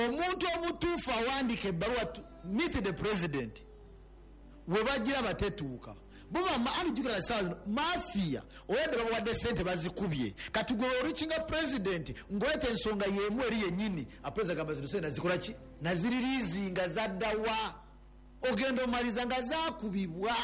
Omuntu omutuufu awandiika ebbaluwa to meet the president, we bagira batetuuka anijukira sawa zino mafia oyadde babawadde sente bazikubye. Kati gwe olukinga president ng'oleta ensonga yemu eri yennyini, apresident agamba zino sente nazikola ki, naziririizinga zaddawa, ogenda omaliza nga zakubibwa.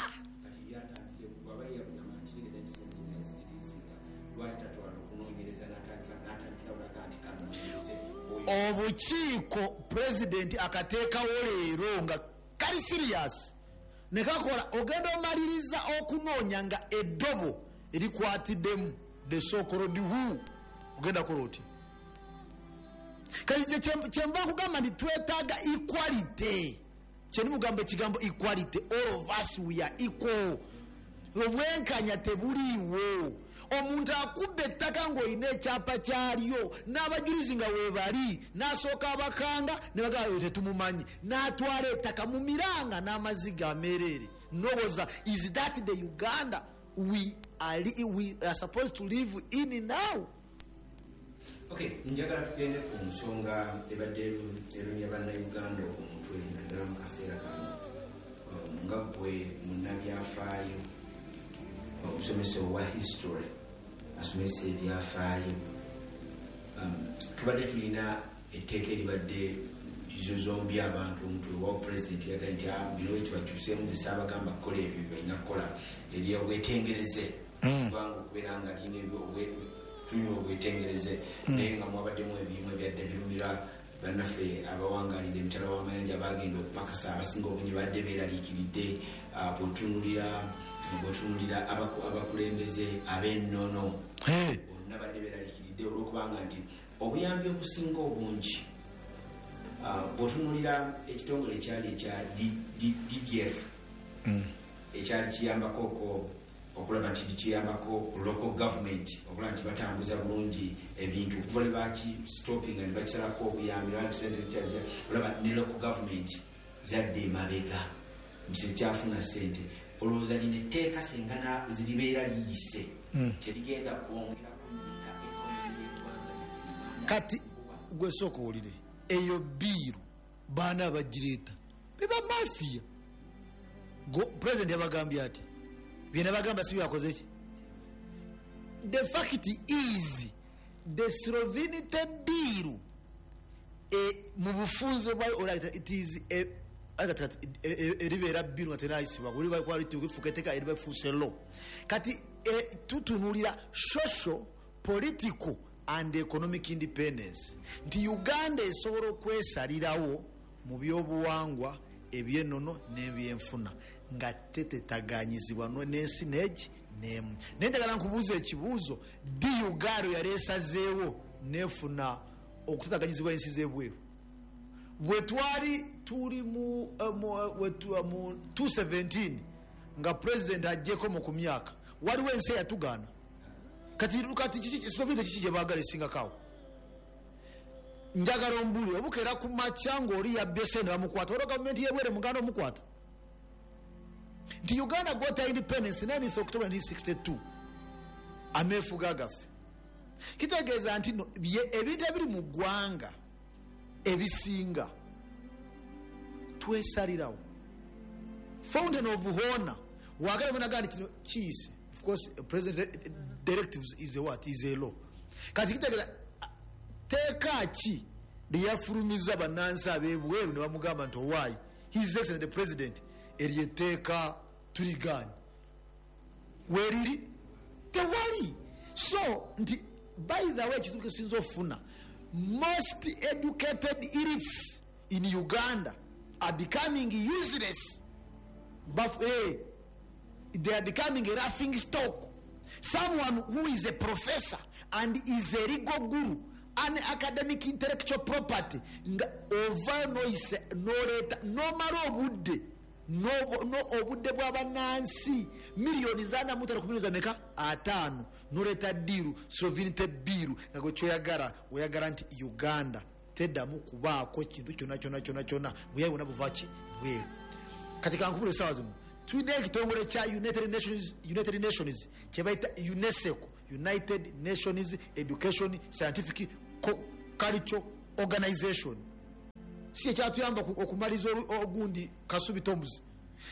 Kati yatandike bwaba yagamba nti kirigenda nti sente naziririzinga, lwaki tatwala okunoonyereza n'atandikira olaga nti kanoonyereze oyo? Obukiiko president akateekawo leero nga kali serious nekakola, ogenda omaliriza okunoonya nga eddobo erikwatiddemu the so-called who, ogenda kola oti. Kati kyenva nkugamba nti twetaaga equality, kyenimugamba ekigambo equality, all of us we are equal. Obwenkanya tebuliiwo. Omuntu akubba ettaka ng'olina ekyapa kyalyo n'abajulizi nga weebali, n'asooka abakanga ne bagamba oyo tetumumanyi, n'atwala ettaka mu miranga n'amaziga ameereere. Nowoza is that the Uganda we are supposed to live in now? Okay, njagala tugende ku nsonga ebadde erumya Bannayuganda omutwe, naddala mu kaseera kano. Nga gwe munnabyafaayo, omusomesa owa history, asomesa ebyafaayo, tubadde tulina etteeka eribadde zozombi abantu omutwe wa president yagambye nti, "Ah, bino bwe tubakyuseemu, nze saabagamba kukola ebyo bye balina kukola eryobwetengereze, kubanga okubeera nga lina tulina obwetengereze." Naye nga mwabaddemu ebimu ebyadde birumira bannaffe abawangalidde emitala w'amayanja, bagenda okupakasa, abasinga obungi badde beeraliikiridde. Bw'otunulira abakulembeze ab'ennono bonna badde beeraliikiridde olwokubanga nti obuyambi obusinga obungi, bw'otunulira ekitongole ekyali ekya DDF ekyali kiyambako okulaba nti kiyambako local government okulaba nti batambuza bulungi ebintu, okuva lwe bakistopinga ne bakisalako obuyambi, olaba nti sente zikyaza, olaba ne local government zadde emabega nti tekyafuna sente. Olowooza lino etteeka senga ziribeera liyise terigenda kwongera kunyika economy y'eggwanga Uganda? Kati gwe sooka owulire eyo bill, baana abagireeta beba mafia. President yabagambye ati byenabagamba si byakoze ki. The fact is the sovereignty bill mu bufunze bwayo olabita it is kati eribeera bill nga tenayisibwa kufuuka etteeka, eriba efuuse law. Kati tutunulira social, political and economic independence, nti Uganda esobola okwesalirawo mu byobuwangwa, ebyennono n'ebyenfuna nga tetetaganyizibwa n'ensi negi nemu. Naye njagala nkubuuza ekibuuzo: ddi Uganda yali esazeewo nefuna okutetaganyizibwa ensi z'ebweru? Bwe twali tuli mu 217 nga president ajjeko mu ku myaka, waliwo ensi eyatugaana. Kati sovereignty kiki gye baagala esingakawo? Njagala ombuli obukeera ku makya ng'oli yabbye sente bamukwata, waliwo gavumenti yebwere muganda omukwata nti Uganda got independence 9 October 1962, ameefuga gaffe. Kitegeeza nti no, ebintu ebiri mu ggwanga ebisinga twesalirawo. Fountain of honor wagala bonagaa nti kino kiyise. Of course president directives is a what? Is a law. Kati kitegeeza teeka ki lyeyafulumiza bannansi ab'ebweru ne bamugamba nti owaayi, His Excellence the President, eryo etteeka tuliganye? Weriri tewali. So nti by the way, ekizibu kesinza okufuna, most educated elites in Uganda are becoming useless. They are becoming a laughing stock. Someone who is a professor and is a legal guru, an academic intellectual property, nga ova noise noleeta nomala obudde obudde bw'abannansi miliyoni zana mutano ku miliyoni zameka ataano, noleeta deal, sovereignty bill, nga gwe kyoyagala oyagala nti Uganda teddamu kubaako kintu kyonna kyonna kyonna kyonna, buyayi bwonna buva ki bweru. Kati kankubula, esaawa zino tulina ekitongole kya United Nations kyebayita UNESCO, United Nations Education, Scientific Culture Organization. Si ekyatuyamba okumaliza ogundi Kasubi Tombs.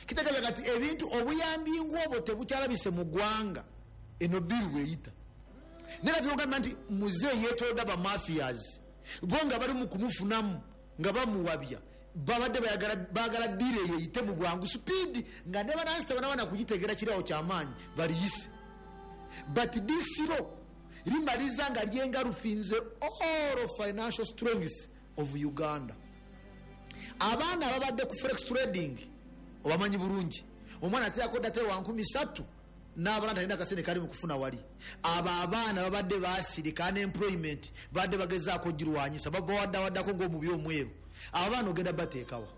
Kitegeeza kati ebintu obuyambi ng'obwo tebukyalabise mu ggwanga, eno bill bweyita. Naye kati ogamba nti muzeeyi yeetolodde ba mafias bo nga bali mu kumufunamu nga bamuwabya, babadde baagala bill eyo eyite mu bwangu speed, nga ne banansi tebanabana kugitegeera kirawo kyamaanyi baliyise. But this law limaliza nga lyengalufinze all financial strength of Uganda. Abaana ababadde ku forex trading obamanyi bulungi, omwana ateerako data wa 3,000 n'abala talina akasente kali mu kufuna wali. Abo abaana babadde basirika, unemployment badde bagezaako girwanyisa, babawaddawaddako ng'omubi omweru. Abo abaana ogenda bateekawa?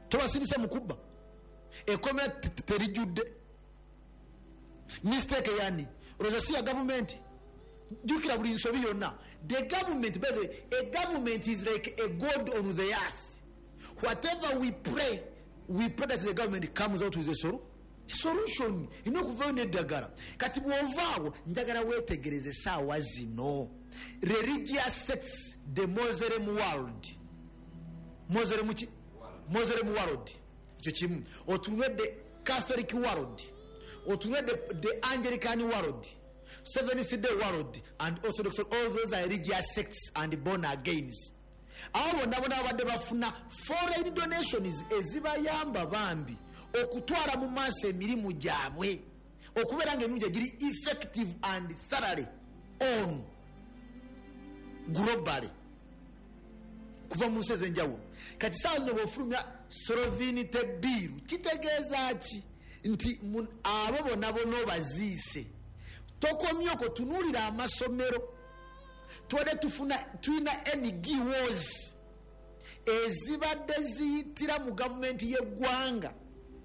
Tobasindise mu kubba, ekkomera terijjudde. Mistake yani olowooza si ya gavumenti? Jjukira buli nsobi yonna, the government, by the way, a government is like a god on the earth. Whatever we pray, we pray that the government comes out with a solution. Ina okuvayo n'eddagala. Kati bw'ovaawo, njagala weetegereze essaawa zino religious sects, the Muslim world, Muslim ki? Muslim world, ekyo kimu. Otunule the Catholic world, otunule the Anglican world, Seventh Day world and Orthodox. All those are religious sects and born agains. Abo bonna bonna babadde bafuna foreign donations ezibayamba bambi okutwala mu maaso emirimu gyabwe, okubeera nga emirimu gye giri effective and thoroughly on globally kuva mu nsi ez'enjawulo. Kati saawa zino bw'ofulumya sovereignty bill, kitegeeza ki? Nti abo bonna bonna obaziise. Tokomye okwo, tunuulira amasomero. Tubadde tufuna, tulina NGOs ezibadde ziyitira mu gavumenti y'eggwanga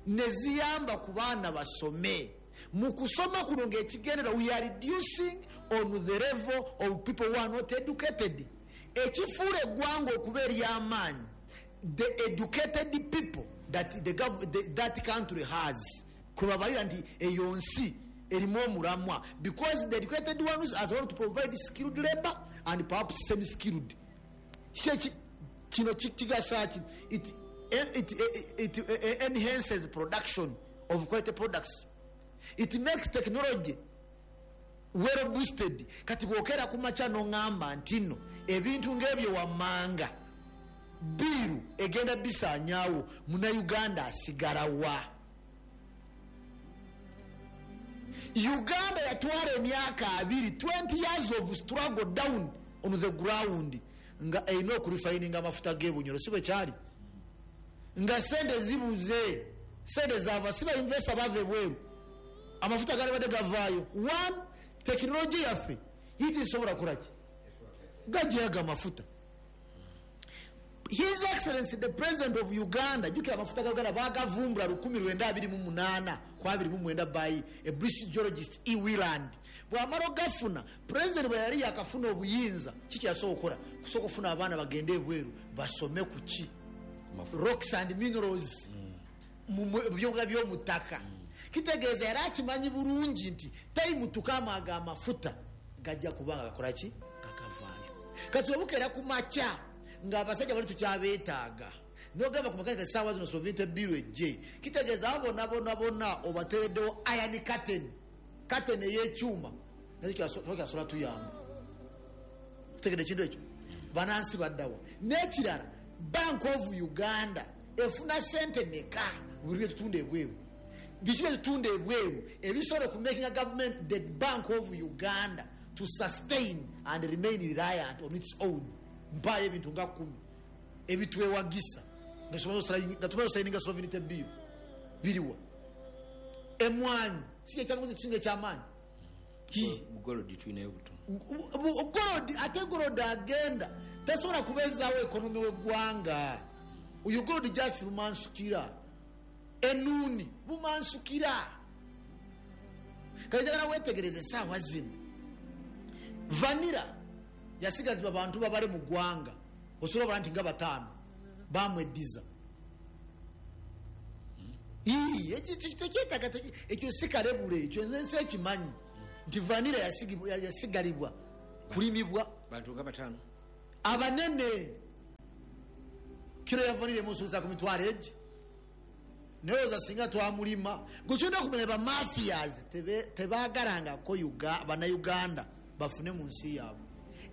ne ziyamba ku baana basome. Mu kusoma kuno ng'ekigendera, we are reducing on the level of people who are not educated. Ekifuula eggwanga okuba ery'amaanyi, the educated people that that country has, kwebabalira nti eyo nsi erimu omulamwa, because the educated ones are able to provide skilled labor and perhaps semi skilled. Kino kigasa ki? It enhances production of quality products. It makes technology well boosted. Kati bwokera ku makya n'oŋŋamba nti nno ebintu ng'ebyo wammanga bill egenda bisaanyaawo, Munnayuganda asigalawa? Uganda yatwala emyaka 20, 20 years of struggle down on the ground, nga erina okurefininga amafuta g'ebunyoro, si bwe kyali? Nga sente zibuze, sente zava, si ba investor bava ebweru, amafuta gali badde gavaayo. One, tekinologi yaffe yitisobola kulaki gajeyaga amafuta. His Excellency the President of Uganda, jjukira amafuta ga Uganda bagavumbula 1928 ku 29 by a British geologist E. Wieland. Bw'amala ogafuna, president bwe yali yakafuna obuyinza, kiki yasooka okukola? Kusooka okufuna abaana bagende ebweru basome ku ki? Rocks and minerals, mu byobuga by'omu ttaka. Kitegeeza yali akimanyi bulungi nti time tukamaaga amafuta gajja kuba nga gakola ki? Gagavaayo. Kati obukeera ku makya ng'abasajja bali tukyabeetaaga, nogamba ku makanika essaawa zino sovereignty bill ejje, kitegeeza abo bonna bonna bonna obateereddewo iron curtain, curtain ey'ekyuma, nakyo kyasobola tuyamba. Tutegedde ekintu ekyo? Banansi baddawa? N'ekirala, Bank of Uganda efuna sente meka buli byetutunda ebweru? Biki byetutunda ebweru ebisobola okumakinga government, the Bank of Uganda, to sustain and remain reliant on its own? Mpaayo ebintu nga 10 ebitwewagisa nga tumaze osayininga sovereignty bill. Biriwa? Emwanyi si ekyamuzi kisinga ekyamaanyi? Gold tulinayo butono. Gold, ate gold agenda tasobola kubeezaawo economy w'eggwanga. Oyo gold just bumansukira, enuuni bumansukira. Kati njagala weetegereze essaawa zino, vanilla yasigazibwa bantu babale mu ggwanga, osobola obala nti nga 5 bamweddiza. Tekyetaaga ekyo, si kalebule ekyo, nze ekimanyi nti vanilla yasigalibwa kulimibwa bantu nga 5 abanene. Kiro ya vanilla emusuuza ku mitwalo egi. Naye oza singa twamulima. Gwe kyolina okumanya ba mafias tebaagalangako Bannayuganda bafune mu nsi yaabwe.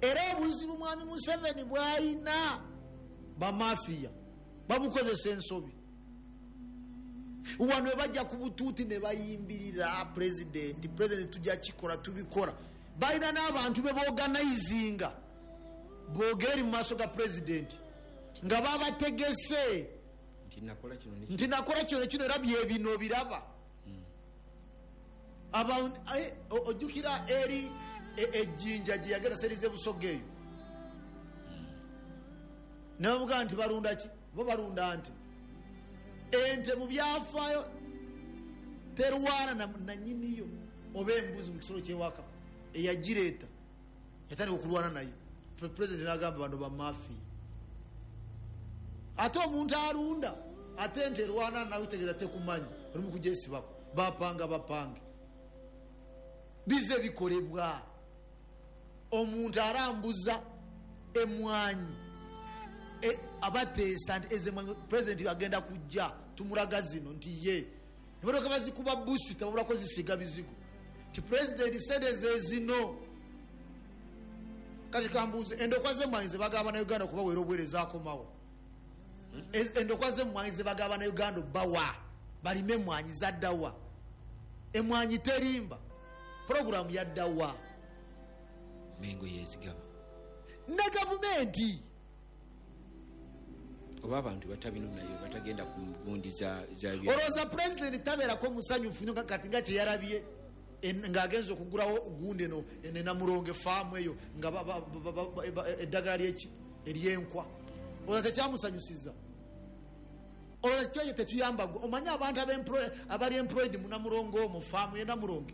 Era obuzibu mwami Museveni bw'ayina bamafiya bamukozesa ensobi. Wano bajja ku butuuti ne bayimbirira pulezidenti, pulezidenti tujja kikola tubikola. Balina n'abantu be boorganizinga boogere mu maaso ga pulezidenti nga babategese nti nakola kino kino era byebino biraba. Ojjukira eri ejjinja gye yagenda serize Busoga eyo ne bamugamba nti balunda ki? Bo balunda nte. Ente mu byafaayo terwana na nnyiniyo oba embuzi mu kisolo ky'ewaka eyagireeta yatandika okulwana naye. Pulezidenti n'agamba bano bamafiya. Ate omuntu alunda ate ente erwana nawe tegeeza tekumanyi oli mu kugyesibako bapanga bapange. Bize bikolebwa. Omuntu arambuza emwanyi abateesa nti ezemwanyi pulezidenti agenda kujja tumulaga zino nti ye emotoka bazikuba busi tababulako zisiiga bizigo nti pulezidenti sente ze zino. Kati kambuuze endokwa z'emmwanyi ze bagaba Bannayuganda okubaweera obuweereza akomawo. Endokwa z'emmwanyi ze bagaba Bannayuganda obbawa balime emmwanyi zaddawa. Emmwanyi terimba. Puroguramu yaddawa. Mengo yezigaba ne gavumenti oba abantu batabino nayo batagenda ku gundi za olowooza pulezidenti tabeerako musanyufu nnyo kati nga kyeyalabye ng'agenza okugulawo gundi eno Namurongo efaamu eyo nga eddagala lyeki eryenkwa. Olowooza tekyamusanyusiza. Olowooza kyo tetuyamba. Omanyi abantu abali employed mu Namurongo mu faamu ye Namurongo.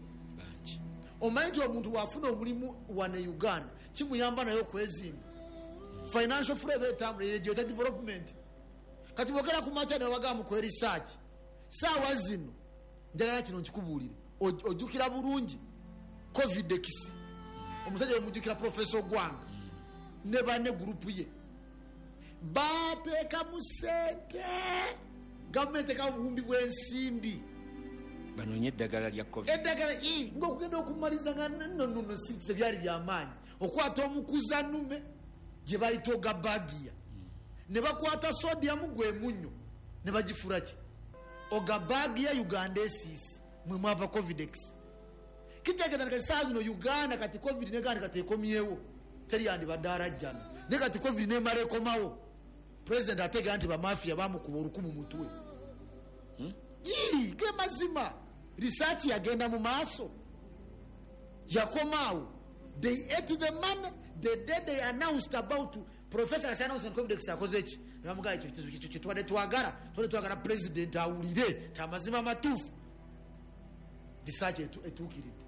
Omanyi nti omuntu bw'afuna omulimu wano e Uganda kimuyamba naye okwezimba. Financial flow etambula yegyeta development. Kati bwogera ku makya ne babagamba mukola research. Saawa zino njagala kino nkikubuulire. Ojjukira bulungi Covidex. Omusajja omujjukira Professor Gwanga ne banne gurupu ye bateekamu ssente. Gavumenti ekamu obuwumbi bw'ensimbi banoonye eddagala lya Covid. Eddagala ng'okugenda okumaliza nga nno si tebyali byamaanyi. Okwata omukuza nnume gye bayita ogabagia ne bakwata sodium gwe munnyo ne bagifura ki ogabagia Uganda esiisi mwe mwava Covidex. Kitegeeza kati saa zino Uganda kati Covid negandi kati ekomyewo teri yandibadde arajjana naye kati Covid nemala ekomawo. Pulezidenti ategeera nti bamafiya bamukuba olukumu mutwe. Ge mazima. Research yagenda mu maaso yakomaawo. They ate the money the day they announced about Professor announced Covidex akoze ki ne bamugamba ekyo tubadde twagala pulezidenti awulire ti amazima amatuufu. Research etuukiridde.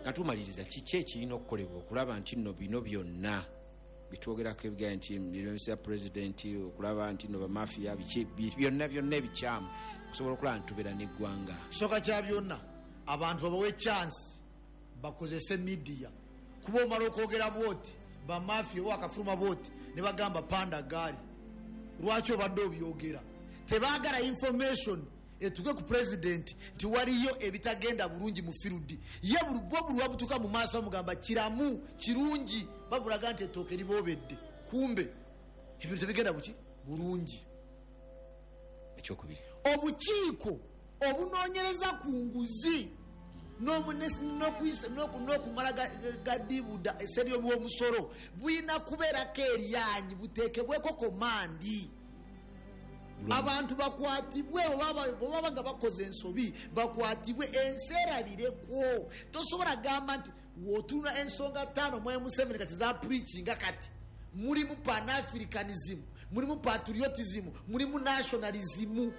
Katumaliriza kiki ekirina okukolebwa okulaba nti nno bino byonna bitwogerako ebigaye nti emirimu ya pulezidenti okulaba nti nno bamafiya biki byonna byonna ebikyamu okusobola okulaba nti tubeera n'eggwanga. Kisooka kya byonna abantu babawe chance bakozese media. Kuba omala okwogera bwoti bamafiya oba akafuluma bwoti ne bagamba panda gaali lwaki obadde obyogera. Tebaagala information etuke ku pulezidenti nti waliyo ebitagenda bulungi mu field. Ye buli wabutuka mu maaso bamugamba kiramu kirungi babulaga nti ettooke liboobedde kumbe ebintu tebigenda buki bulungi. Ekyokubiri obukiiko obunoonyereza ku nguzi n'okumala gadibuda eseri y'omusolo bulina kubeerako eryanyi buteekebweko komandi. Abantu bakwatibwe bwe nga bakoze ensobi bakwatibwe ensi erabireko. Tosobola gamba nti w'otunula ensonga 5 mu Museveni kati za preachinga kati mulimu pan-africanism, mulimu patriotism, mulimu nationalism.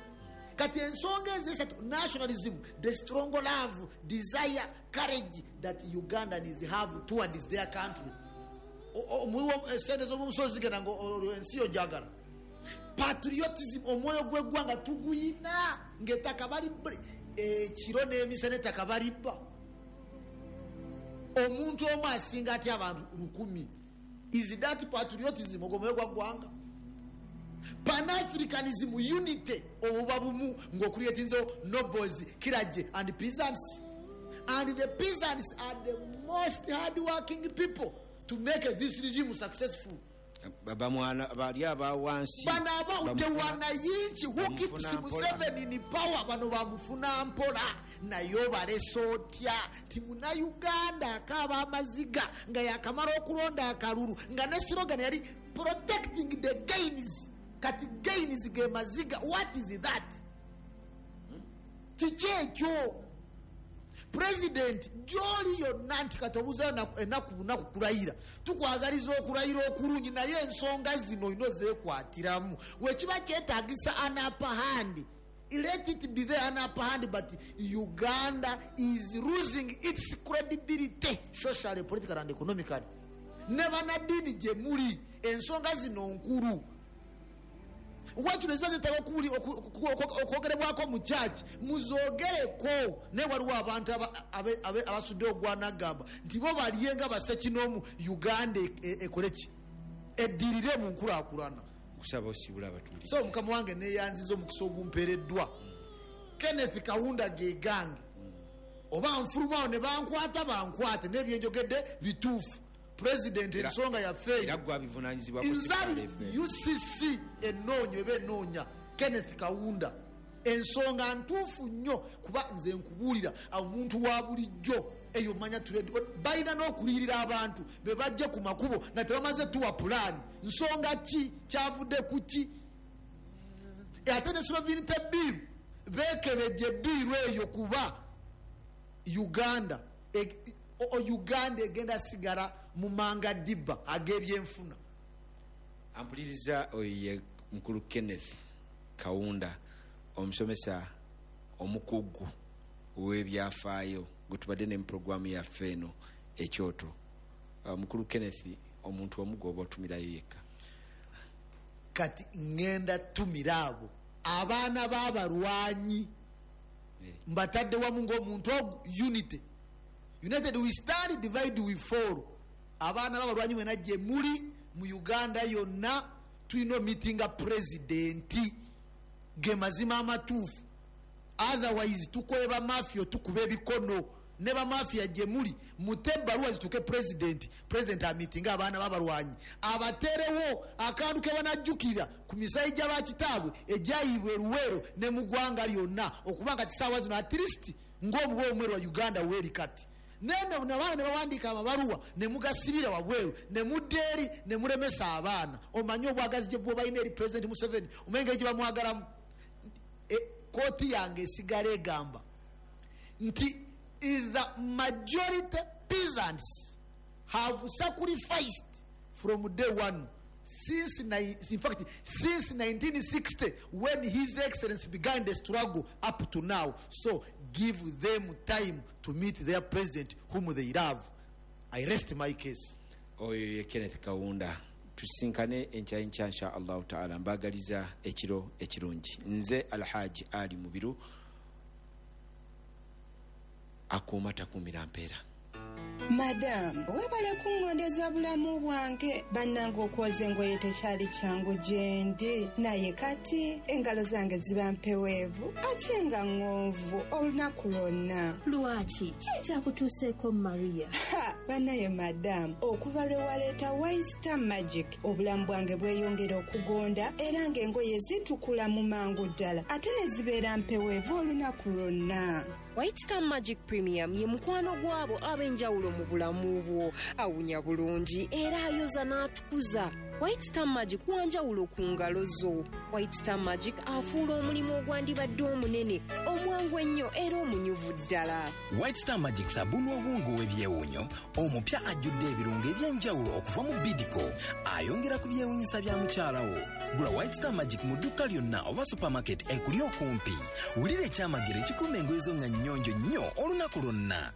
Kati ensonga ezo esatu nationalism, the strong love, desire, courage that Ugandans have towards their country. Sente z'omusozi zigenda nga ensi yo gyagala. Patriotism omwoyo gw'eggwanga tuguyina ng'ettaka bali ekiro n'emisana ettaka balibba. Omuntu omu asinga atya abantu 1000. Is that patriotism? Ogwo mwoyo gwa ggwanga? Pan-Africanism, unity, obuba bumu ng'okuleetinzewo nobles, clergy and peasants. And the peasants are the most hardworking people to make this regime successful. Bamwana bali abawansi. Bano aba the wananchi who keeps Museveni in power, bano bamufuna mpola. Naye obalese otya nti Munnayuganda akaaba amaziga nga yakamala okulonda akalulu, nga ne slogan yali protecting the gains. Kati gains ge maziga, what is that? Kiki ekyo? President gy'oli yonna nti kati obuuza ennaku bunaku kulayira, tukwagaliza okulayira okulungi, naye ensonga zino olina ozeekwatiramu. Wekiba kyetaagisa an upper hand, let it be there, an upper hand, but Uganda is losing its credibility socially, politically and economically. Ne bannaddiini gye muli, ensonga zino nkulu. Wakino ziba zetaaga okwogerebwako mu church, muzoogereko. Naye waliwo abantu abasudde ogwanagamba nti bo balye nga bassekinoomu, Uganda ekole ki? Eddirire mu nkulaakulana. Nkusaba osibule abatuulize. So mukama wange neeyanziza omukisa ogumpeereddwa. Kenneth Kaunda ge gange. Oba nfulumawo ne bankwata bankwate, n'ebyenjogedde bituufu. President ensonga yaffe era gwe abivunaanyizibwako. Nzabi UCC ennoonya eba ennoonya Kenneth Kaunda. Ensonga ntuufu nnyo, kuba nze nkubuulira omuntu wa bulijjo eyo manya trade balina n'okuliyirira abantu be bajje ku makubo nga tebamaze tuwa pulaani. Nsonga ki kyavudde ku ki? Ate ne sovereignty bill beekebejje bill eyo, kuba Uganda Uganda egenda sigala mu manga dibba ag'ebyenfuna. Ampuliriza oyo ye mukulu Kenneth Kaunda, omusomesa omukugu w'ebyafaayo gwe tubadde ne mu puroguramu yaffe eno Ekyoto. Mukulu Kenneth, omuntu omu gw'oba otumirayo yekka. Kati ŋŋenda tumira abo abaana b'abalwanyi mbatadde wamu ng'omuntu ogu, unity. United we stand, divide we fall. Abaana b'abalwanyi mwena gye muli mu Uganda yonna, tulina omitinga pulezidenti ge mazima amatuufu. Otherwise tukoye bamafia, tukuba ebikono ne bamafia gye muli, mute ebbaluwa zituuke pulezidenti. Pulezidenti amitinga abaana b'abalwanyi, abateerewo akantu ke banajjukira ku misayi gy'abakitaabwe egyayibwa eruweero ne mu ggwanga lyonna, okuba nga kisaawa zino at least ng'omuba omweru wa Uganda weeri kati. Nene nabaana ne bawandiika amabaluwa ne mugasibira wabweru ne mudda eri ne mulemesa abaana. Omanyi obwagazi gye bwobalina eri President Museveni, omanyi engeri gye bamwagalamu. Kooti yange esigala egamba nti the majority peasants have sacrificed from day one, since in fact since 1960 when His Excellency began the struggle up to now. So give them time to meet their president whom they love. I rest my case. Oyo ye Kenneth Kaunda. Tusinkane enkya enkya insha Allahu taala. Mbagaliza ekiro ekirungi. Nze Alhaji Ali Mubiru, akuuma takuumira mpeera. Madamu, webale kungondeza bulamu bwange. Bannange okwoza engoye tekyali kyangu gye ndi, naye kati engalo zange ziba mpeweevu ate nga ŋŋonvu olunaku lwonna. Lwaki? Ki ekyakutuuseeko Maria? Ha, bannaye madamu, okuva lwe waleeta White Star Magic, obulamu bwange bweyongera okugonda era ng'engoye zitukula mu mangu ddala ate ne zibeera mpeweevu olunaku lwonna. White Star Magic Premium ye mukwano gwabo ab'enjawulo mu bulamu bwo. Awunya bulungi era ayoza n'atukuza. White Star Magic wanjawulo ku ngalo zo. White Star Magic afuula omulimu ogwandibadde omunene, omwangu ennyo era omunyuvu ddala. White Star Magic sabuni owungu w'ebyewuunyo omupya ajjudde ebirungo eby'enjawulo okuva mu Bidco, ayongera ku byewuunyisa bya mukyala wo. Gula White Star Magic mu dduuka lyonna oba supermarket ekuli okumpi. Wulira ekyamagero ekikuuma engoye zo nga nnyonjo nnyo olunaku lwonna.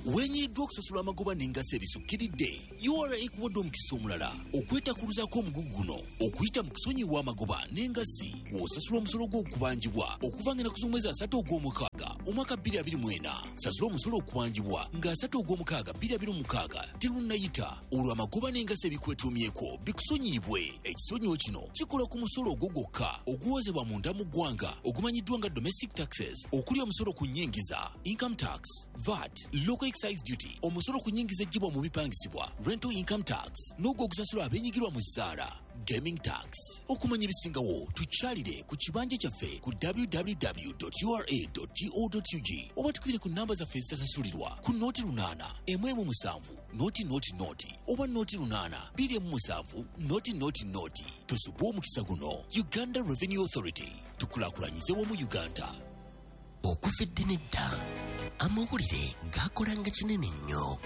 Wenyiddwa okusasula amagoba n'engassi ebisukkiridde. URA ekuwadde omukisa omulala okwetakuluzaako omugugu guno okuyita mu kusonyiwa amagoba n'engassi w'osasula omusolo gw'okubanjibwa okuva ng'ennaku z'omwezi 3 ogw'omukaaga omwaka 2024. Sasula omusolo okubanjibwa nga 3 ogw'omukaaga 2026 terunnayita, olwo amagoba n'engassi ebikwetuumyeko bikusonyiyibwe. Ekisonyiwo kino kikola ku musolo ogwo gwokka oguwozebwa munda mu ggwanga ogumanyiddwa nga domestic taxes, okuli omusolo ku nnyingiza, income tax, VAT, local excise duty, omusolo ku nnyingiza eggyibwa mu bipangisibwa, rental income tax, n'ogwo ogusasulwa abeenyigirwa mu zzaala, gaming tax. Okumanya ebisingawo tukyalire ku kibanja kyaffe ku www.ura.go.ug oba tukubire ku namba zaffe ezitasasulirwa ku 08 117 0 0 0 oba 08 27 0 0 0. Tusubwe omukisa guno. Uganda Revenue Authority, tukulaakulanyize wamu Uganda. Okuva edda n'edda amawulire gakolanga kinene nnyo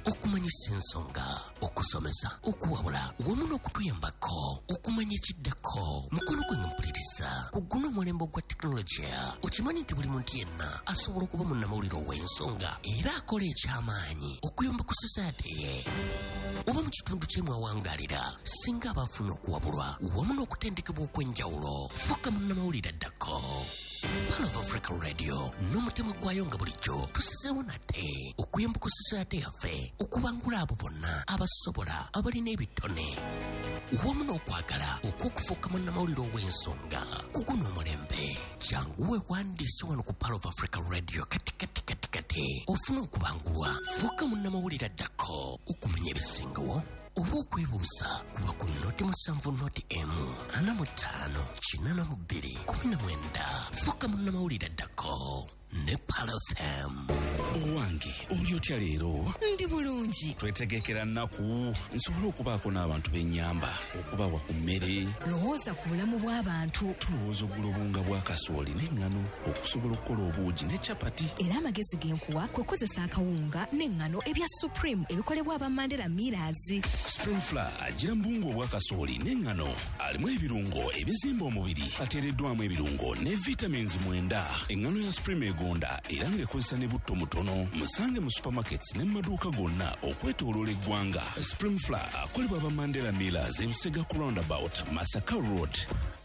okumanyisa ensonga, okusomesa, okuwabula wamu n'okutuyambako okumanya ekiddako. Mukono gwange mpuliriza, ku guno omulembe ogwa tekinologiya okimanyi nti buli muntu yenna asobola okuba munnamawulire ow'ensonga era akola ekyamaanyi okuyamba ku society ye oba mu kitundu kye mwawangalira, singa aba afuna okuwabulwa wamu n'okutendekebwa okw'enjawulo. Fuuka munnamawulire addako. Pearl of Africa Radio n'omutima gwayo nga bulijjo tusizeewo nate okuyamba ku society yaffe okubangula abo bonna abasobola, abalina ebitone wamu n'okwagala okw'okufuuka munnamawulire ow'ensonga ku guno omulembe. Jangu weewandiise wano ku Pearl of Africa Radio kati kati kati kati ofune okubangulwa. Fuuka munnamawulire addako. Okumanya ebisingawo oba okwebuuza kuba ku 07 01 45 82 19. Fuuka munnamawulire addako ne Pearl FM. Owange, oli otya leero? Ndi bulungi. Twetegekera nnaku nsobole okubaako n'abantu b'ennyamba, okubawa ku mmere. Lowooza ku bulamu bw'abantu. Tulowooza okugula obuwunga bwa kasooli n'eŋŋano okusobola okukola obuugi ne capati. Era amagezi ge nkuwa kwe kukozesa akawunga n'eŋŋano ebya Supreme ebikolebwa aba Mandela Millers. Supreme Flour agira mu buwunga obwa kasooli n'eŋŋano, alimu ebirungo ebizimba omubiri, ateereddwamu ebirungo ne vitamins 9. Eŋŋano ya Supreme egonda era ng'ekozesa ne butto mutono. Musange mu supermarkets ne mu maduuka gonna okwetooloola eggwanga. Supreme Flour akolebwa aba Mandela Millers, Ebusega ku roundabout, Masaka Road.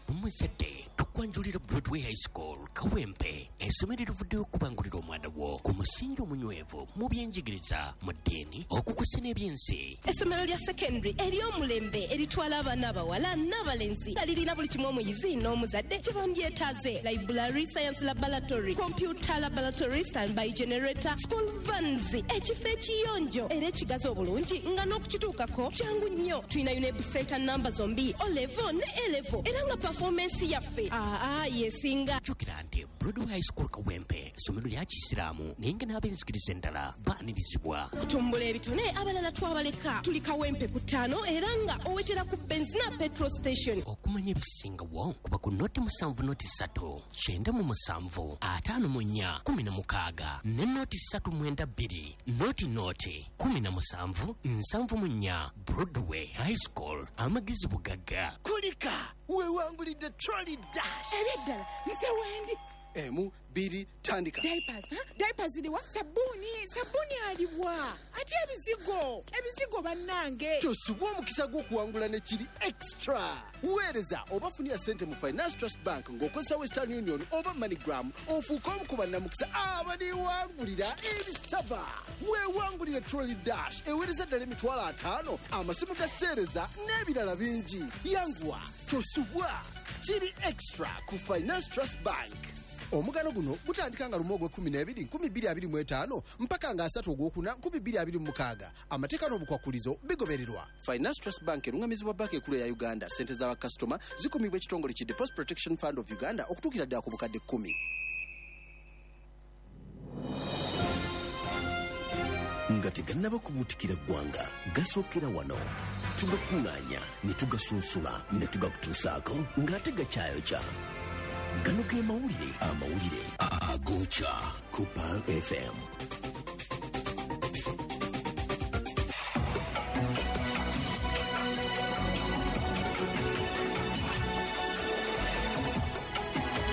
Omuzadde, tukwanjulira Broadway High School Kawempe, essomero erivuddeyo okubangulira omwana wo ku musingi omunywevu mu byenjigiriza, mu ddiini, okukusa n'ebyensi. Essomero lya secondary ery'omulembe eritwala abaana abawala n'abalenzi nga lirina buli kimu omuyizi n'omuzadde kye bandyetaaze: library, science laboratory, computer laboratory, standby generator, school vans, ekifo ekiyonjo era ekigazi obulungi nga n'okukituukako kyangu nnyo. Tulina UNEB center namba zombi, O level ne A level, era nga performance yaffe aa yesinga. Jjukira nti Broadway High School Kawempe essomero lya kisiraamu, naye nga n'ab'enzikiriza endala baanirizibwa. Okutumbula ebitone abalala twabaleka. Tuli Kawempe ku 5 era nga owetera ku Benzina petrol station. Okumanya ebisingawo kuba ku 07 03 97 54 16 ne 0392 00 17 74. Broadway High School, amagezi bugagga. Kulika wewangulidde trolley dash. Ebyeddala nze wendi. 1 2 tandika. Diapers, diapers ziriwa? Sabbuuni, sabbuuni aliwa? Ate ebizigo, ebizigo bannange. Tosubwa omukisa gw'okuwangula ne kiri extra. Weereza oba funira ssente mu Finance Trust Bank ng'okozesa Western Union oba MoneyGram, ofuuke omu ku bannamukisa abaliwangulira ebisaba. Weewangulire trolley dash eweereza ddala 50,000, amasimu ga seereza n'ebirala bingi. Yanguwa, tosubwa. Kiri extra ku Finance Trust Bank. Omugano guno gutandika nga 1 ogw'e12 2025 mpaka nga 3 ogwokuna 2026. Amateeka n'obukwakulizo bigobererwa. Finance Trust Bank erungamizibwa banka enkulu ya Uganda. Ssente z'abakasitoma zikumibwa ekitongole ki Deposit Protection Fund of Uganda okutuukira ddala ku bukadde 10. Nga tegannaba kubuutikira ggwanga, gasookera wano. Tugakuŋŋaanya ne tugasunsula ne tugakutuusaako ng'ate gakyayokya. Gano ge mawulire, amawulire agokya ku Pearl FM.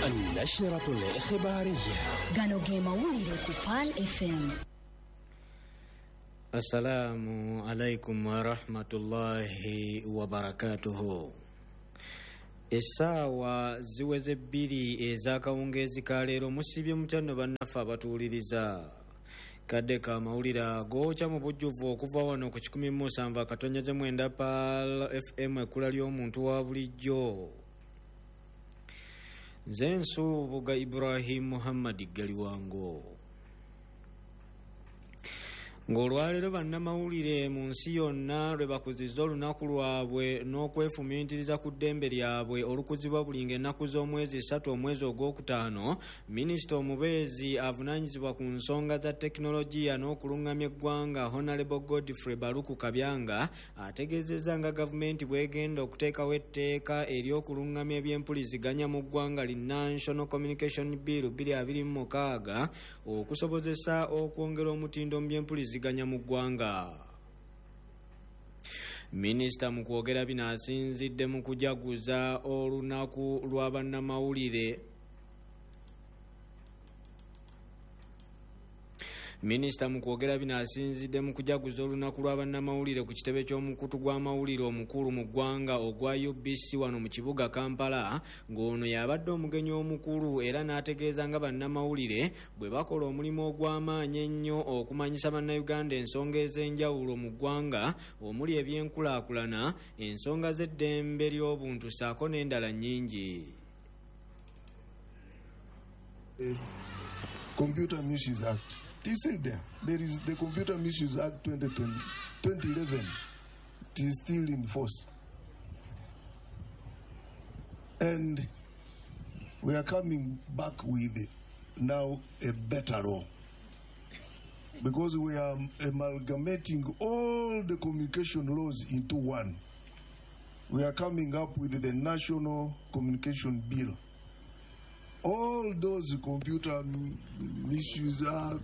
النشرة الإخبارية. Gano ge mawulire ku Pearl FM. Assalamu alaikum warahmatullahi wabarakatuhu. Essaawa ziweze 2 ez'akawungeezi ka leero. Musibye mutya nno bannaffe abatuwuliriza? Kadde ka mawulire agookya mu bujjuvu okuva wano ku 107.9 Pearl FM, ekkula ly'omuntu wa bulijjo. Nze Nsubuga Ibrahim Muhammad Galiwango. Ng'olwaleero bannamawulire mu nsi yonna lwe bakuzizza olunaku lwabwe n'okwefumiitiriza ku ddembe lyabwe olukuzibwa buli ng'ennaku z'omwezi 3 omwezi ogwokutaano, minisita omubeezi avunaanyizibwa ku nsonga za tekinologiya n'okulungamya eggwanga Honorable Godfrey Baluku Kabyanga ategeezezza nga gavumenti bw'egenda okuteekawo etteeka ery'okulungamya ebyempuliziganya mu ggwanga li National Communication Bill 2026 okusobozesa okwongera omutindo mu byempuliziganya mu ggwanga. Minisita mu kwogera bino asinzidde mu kujaguza olunaku lwa bannamawulire. Minisita mu kwogera bino asinzidde mu kujaguza olunaku lwa bannamawulire ku kitebe ky'omukutu gw'amawulire omukulu mu ggwanga ogwa UBC wano mu kibuga Kampala, ng'ono y'abadde omugenyi omukulu era n'ategeeza nga bannamawulire bwe bakola omulimu ogw'amaanyi ennyo okumanyisa bannayuganda ensonga ez'enjawulo mu ggwanga omuli ebyenkulaakulana, ensonga z'eddembe ly'obuntu ssaako n'endala nnyingi. Computer Misuse Act. It is still there. There is the Computer Misuse Act 2011. It is still in force. And we are coming back with now a better law, because we are amalgamating all the communication laws into one. We are coming up with the National Communication Bill. All those Computer Misuse Act,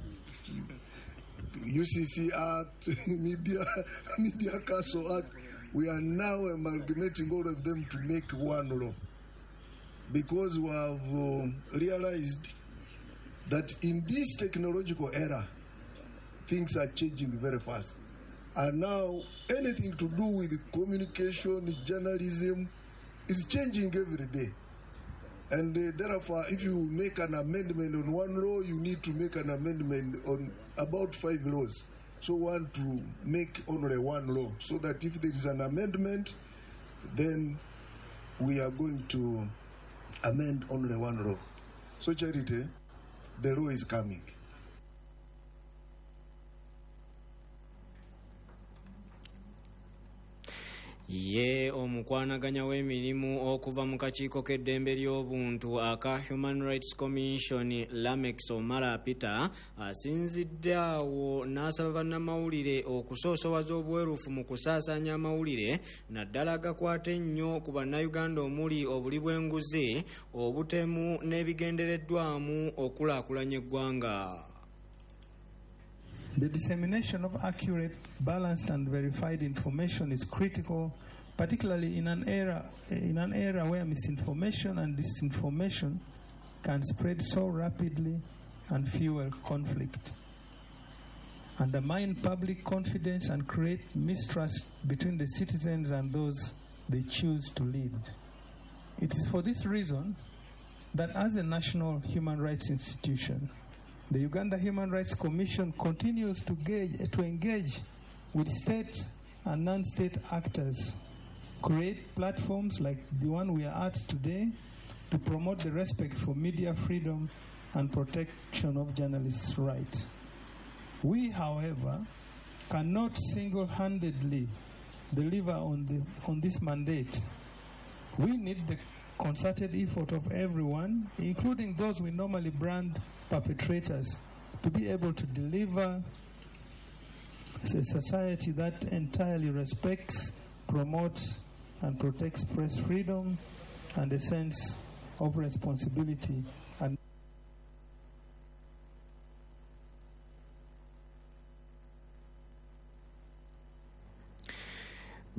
UCC Act, Media Council Act, we are now amalgamating all of them to make one law, because we have realized that in this technological era, things are changing very fast. And now anything to do with communication, journalism, is changing every day. And therefore, if you make an amendment on one law, you need to make an amendment on about 5 laws. So we want to make only one law, so that if there is an amendment, then we are going to amend only one law. So Charity, the law is coming. Ye omukwanaganya w'emirimu okuva mu kakiiko k'eddembe ly'obuntu aka Human Rights Commission Lamex Omara Peter asinzidde awo n'asaba bannamawulire okusoosowaza obwerufu mu kusaasaanya amawulire naddala agakwata ennyo ku bannayuganda omuli obuli bw'enguzi, obutemu n'ebigendereddwamu okulaakulanya eggwanga. The dissemination of accurate, balanced, and verified information is critical, particularly in an era where misinformation and disinformation can spread so rapidly and fuel conflict, undermine public confidence, and create mistrust between the citizens and those they choose to lead. It is for this reason that as a national human rights institution, the Uganda Human Rights Commission continues to engage with state and non-state actors, create platforms like the one we are at today to promote the respect for media freedom and protection of journalists' rights. We, however, cannot single-handedly deliver on this mandate. We need the concerted effort of everyone, including those we normally brand perpetrators, to be able to deliver a society that entirely respects, promotes, and protects press freedom and a sense of responsibility and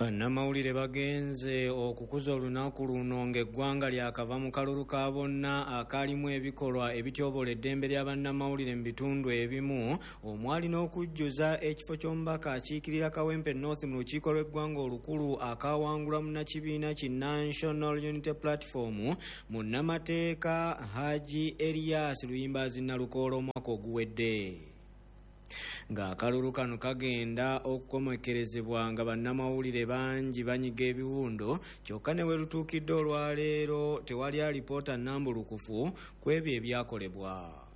Bannamawulire bagenze okukuza olunaku luno ng'eggwanga lyakava mu kalulu ka bonna akaalimu ebikolwa ebityoboola eddembe lya bannamawulire mu bitundu ebimu, omwali n'okujjuza ekifo ky'omubaka akiikirira Kawempe North mu lukiiko lw'eggwanga olukulu akawangulwa munnakibiina ki National Unity Platform munnamateeka Haji Elias Luyimbazi Nalukoola omwaka oguwedde. Ng'akalulu kano kagenda okukomekerezebwa nga bannamawulire bangi banyiga ebiwundo, kyokka ne we lutuukidde olwaleero tewali alipoota nnambulukufu ku ebyo ebyakolebwa.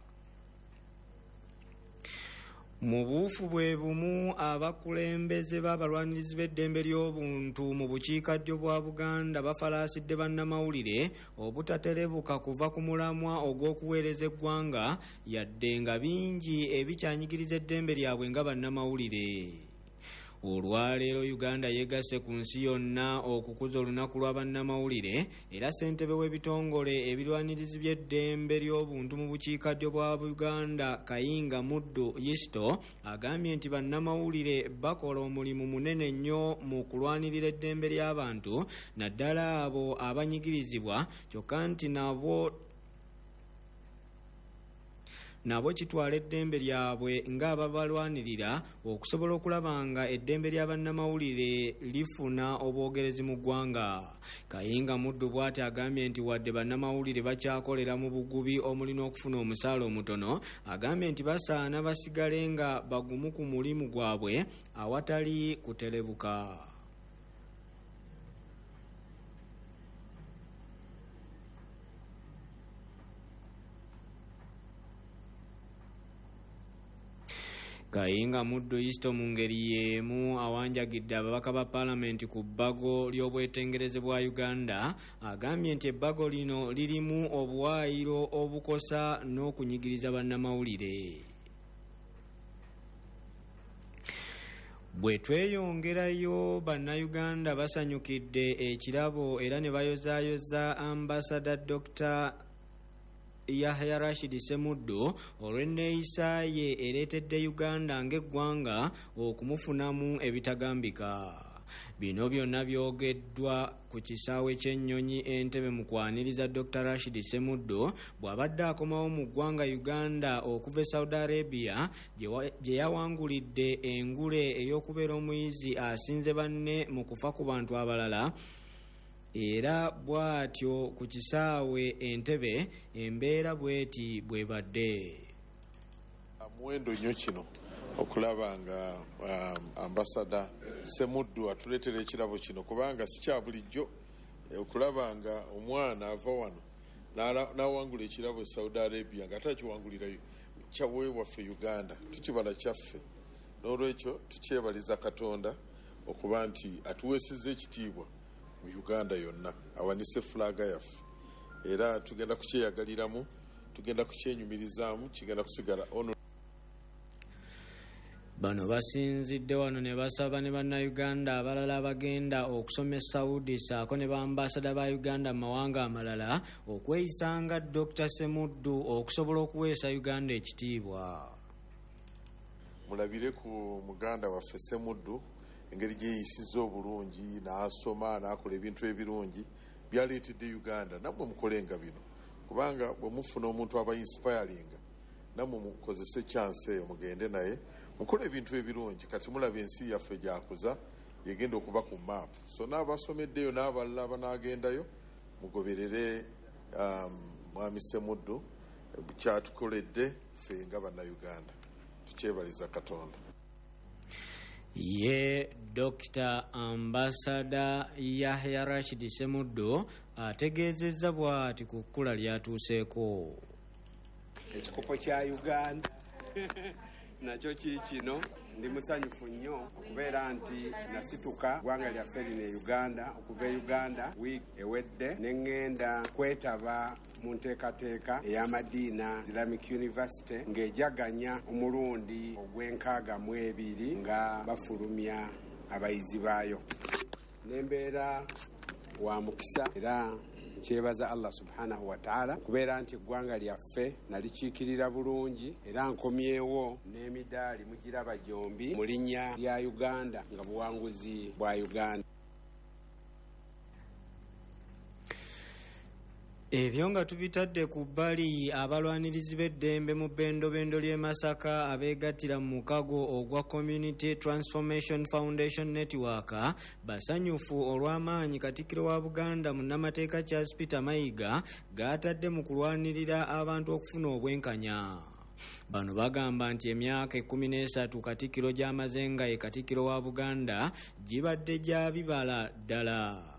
Mu buufu bwe bumu, abakulembeze b'abalwanirizi b'eddembe ly'obuntu mu bukiikaddyo bwa Buganda bafalaasidde bannamawulire obutaterebuka kuva ku mulamwa ogw'okuweereza eggwanga, yadde nga bingi ebikyanyigiriza eddembe lyabwe nga bannamawulire. Olwaleero Uganda yeegasse ku nsi yonna okukuza olunaku lwa bannamawulire, era ssentebe w'ebitongole ebirwanirizi by'eddembe ly'obuntu mu bukiikaddyo bwa Buganda Kayinga Muddu Yisto agambye nti bannamawulire bakola omulimu munene nnyo mu kulwanirira eddembe ly'abantu, naddala abo abanyigirizibwa, kyokka nti nabo kitwala eddembe lyabwe ng'ababalwanirira okusobola okulaba nga eddembe lya bannamawulire lifuna obwogerezi mu ggwanga. Kayinga Muddu bw'ati agambye nti wadde bannamawulire bakyakolera mu bugubi omuli n'okufuna omusaala omutono, agambye nti basaana basigale nga bagumu ku mulimu gwabwe awatali kuterebuka. Kayinga Muddu Yisto mu ngeri y'emu awanjagidde ababaka ba paalamenti ku bbago ly'obwetengereze bwa Uganda, agambye nti ebbago lino lirimu obuwaayiro obukosa n'okunyigiriza bannamawulire. Bwe tweyongerayo, bannayuganda basanyukidde ekirabo era ne bayozaayoza ambasada Dr. Yahya Rashid Ssemuddu olw'enneeyisa ye ereetedde Uganda ng'eggwanga okumufunamu ebitagambika. Bino byonna byogeddwa ku kisaawe ky'ennyonyi Entebbe mu kwaniriza Dr. Rashid Ssemuddu bw'abadde akomawo mu ggwanga Uganda okuva e Saudi Arabia gye yawangulidde engule ey'okubeera omuyizi asinze banne mu kufa ku bantu abalala. Era bw'atyo ku kisaawe Entebbe embeera bw'eti bw'ebadde. Muwendo nnyo kino okulaba nga ambasada Ssemuddu atuleetera ekirabo kino, kubanga si kya bulijjo okulaba nga omwana ava wano n'awangula ekirabo e Saudi Arabia nga ate akiwangulirayo kyaweebwaffe Uganda, tukibala kyaffe. N'olwekyo tukyebaliza Katonda okuba nti atuweesezza ekitiibwa mu Uganda yonna, awanise fulaaga yaffe, era tugenda kukyeyagaliramu, tugenda kukyenyumirizaamu, kigenda kusigala ono. Bano basinzidde wano ne basaba ne bannayuganda abalala abagenda okusoma e Saudi ssaako ne bambasada ba Uganda mu mawanga amalala okweyisanga Dr. Ssemuddu okusobola okuweesa Uganda ekitiibwa. Mulabire ku muganda waffe Ssemuddu engeri gyeyisizza obulungi, n'asoma n'akola ebintu ebirungi byaleetedde Uganda. Nammwe mukolenga bino, kubanga bwe mufuna omuntu aba inspiringa, nammwe mukozese chance eyo mugende naye mukole ebintu ebirungi. Kati mulaba ensi yaffe gyakuza, yegenda okuba ku map. So n'abasomeddeyo n'abalala abanaagendayo mugoberere Mwami Ssemuddu kyatukoledde ffe nga bannayuganda, tukyebaliza Katonda. Ye Dr. Ambasada Yahya Rashid Ssemuddu ategeezezza bw'ati ku kkula ly'atuuseeko. Ekikopo kya Uganda nakyo kiikino. Ndi musanyufu nnyo okubeera nti nasituka ggwanga lyaffe lino e Uganda, okuva e Uganda wiiki ewedde ne ŋŋenda kwetaba mu nteekateeka ey'Amadiina Islamic University ng'ejaganya omulundi ogw'e62 nga bafulumya abayizi baayo. Nembeera wa mukisa era nkyebaza Allah subhanahu wa ta'ala okubeera nti eggwanga lyaffe nalikiikirira bulungi, era nkomyewo n'emidaali mugiraba gyombi mu linnya lya Uganda nga buwanguzi bwa Uganda. Ebyo nga tubitadde ku bbali, abalwanirizi b'eddembe mu bbendobendo ly'e Masaka abeegattira mu mukago ogwa Community Transformation Foundation Network basanyufu olw'amaanyi Katikkiro wa Buganda munnamateeka Charles Peter Mayiga g'atadde mu kulwanirira abantu okufuna obwenkanya. Bano bagamba nti emyaka 13 Katikkiro gy'amaze nga ye Katikkiro wa Buganda gibadde gya bibala ddala.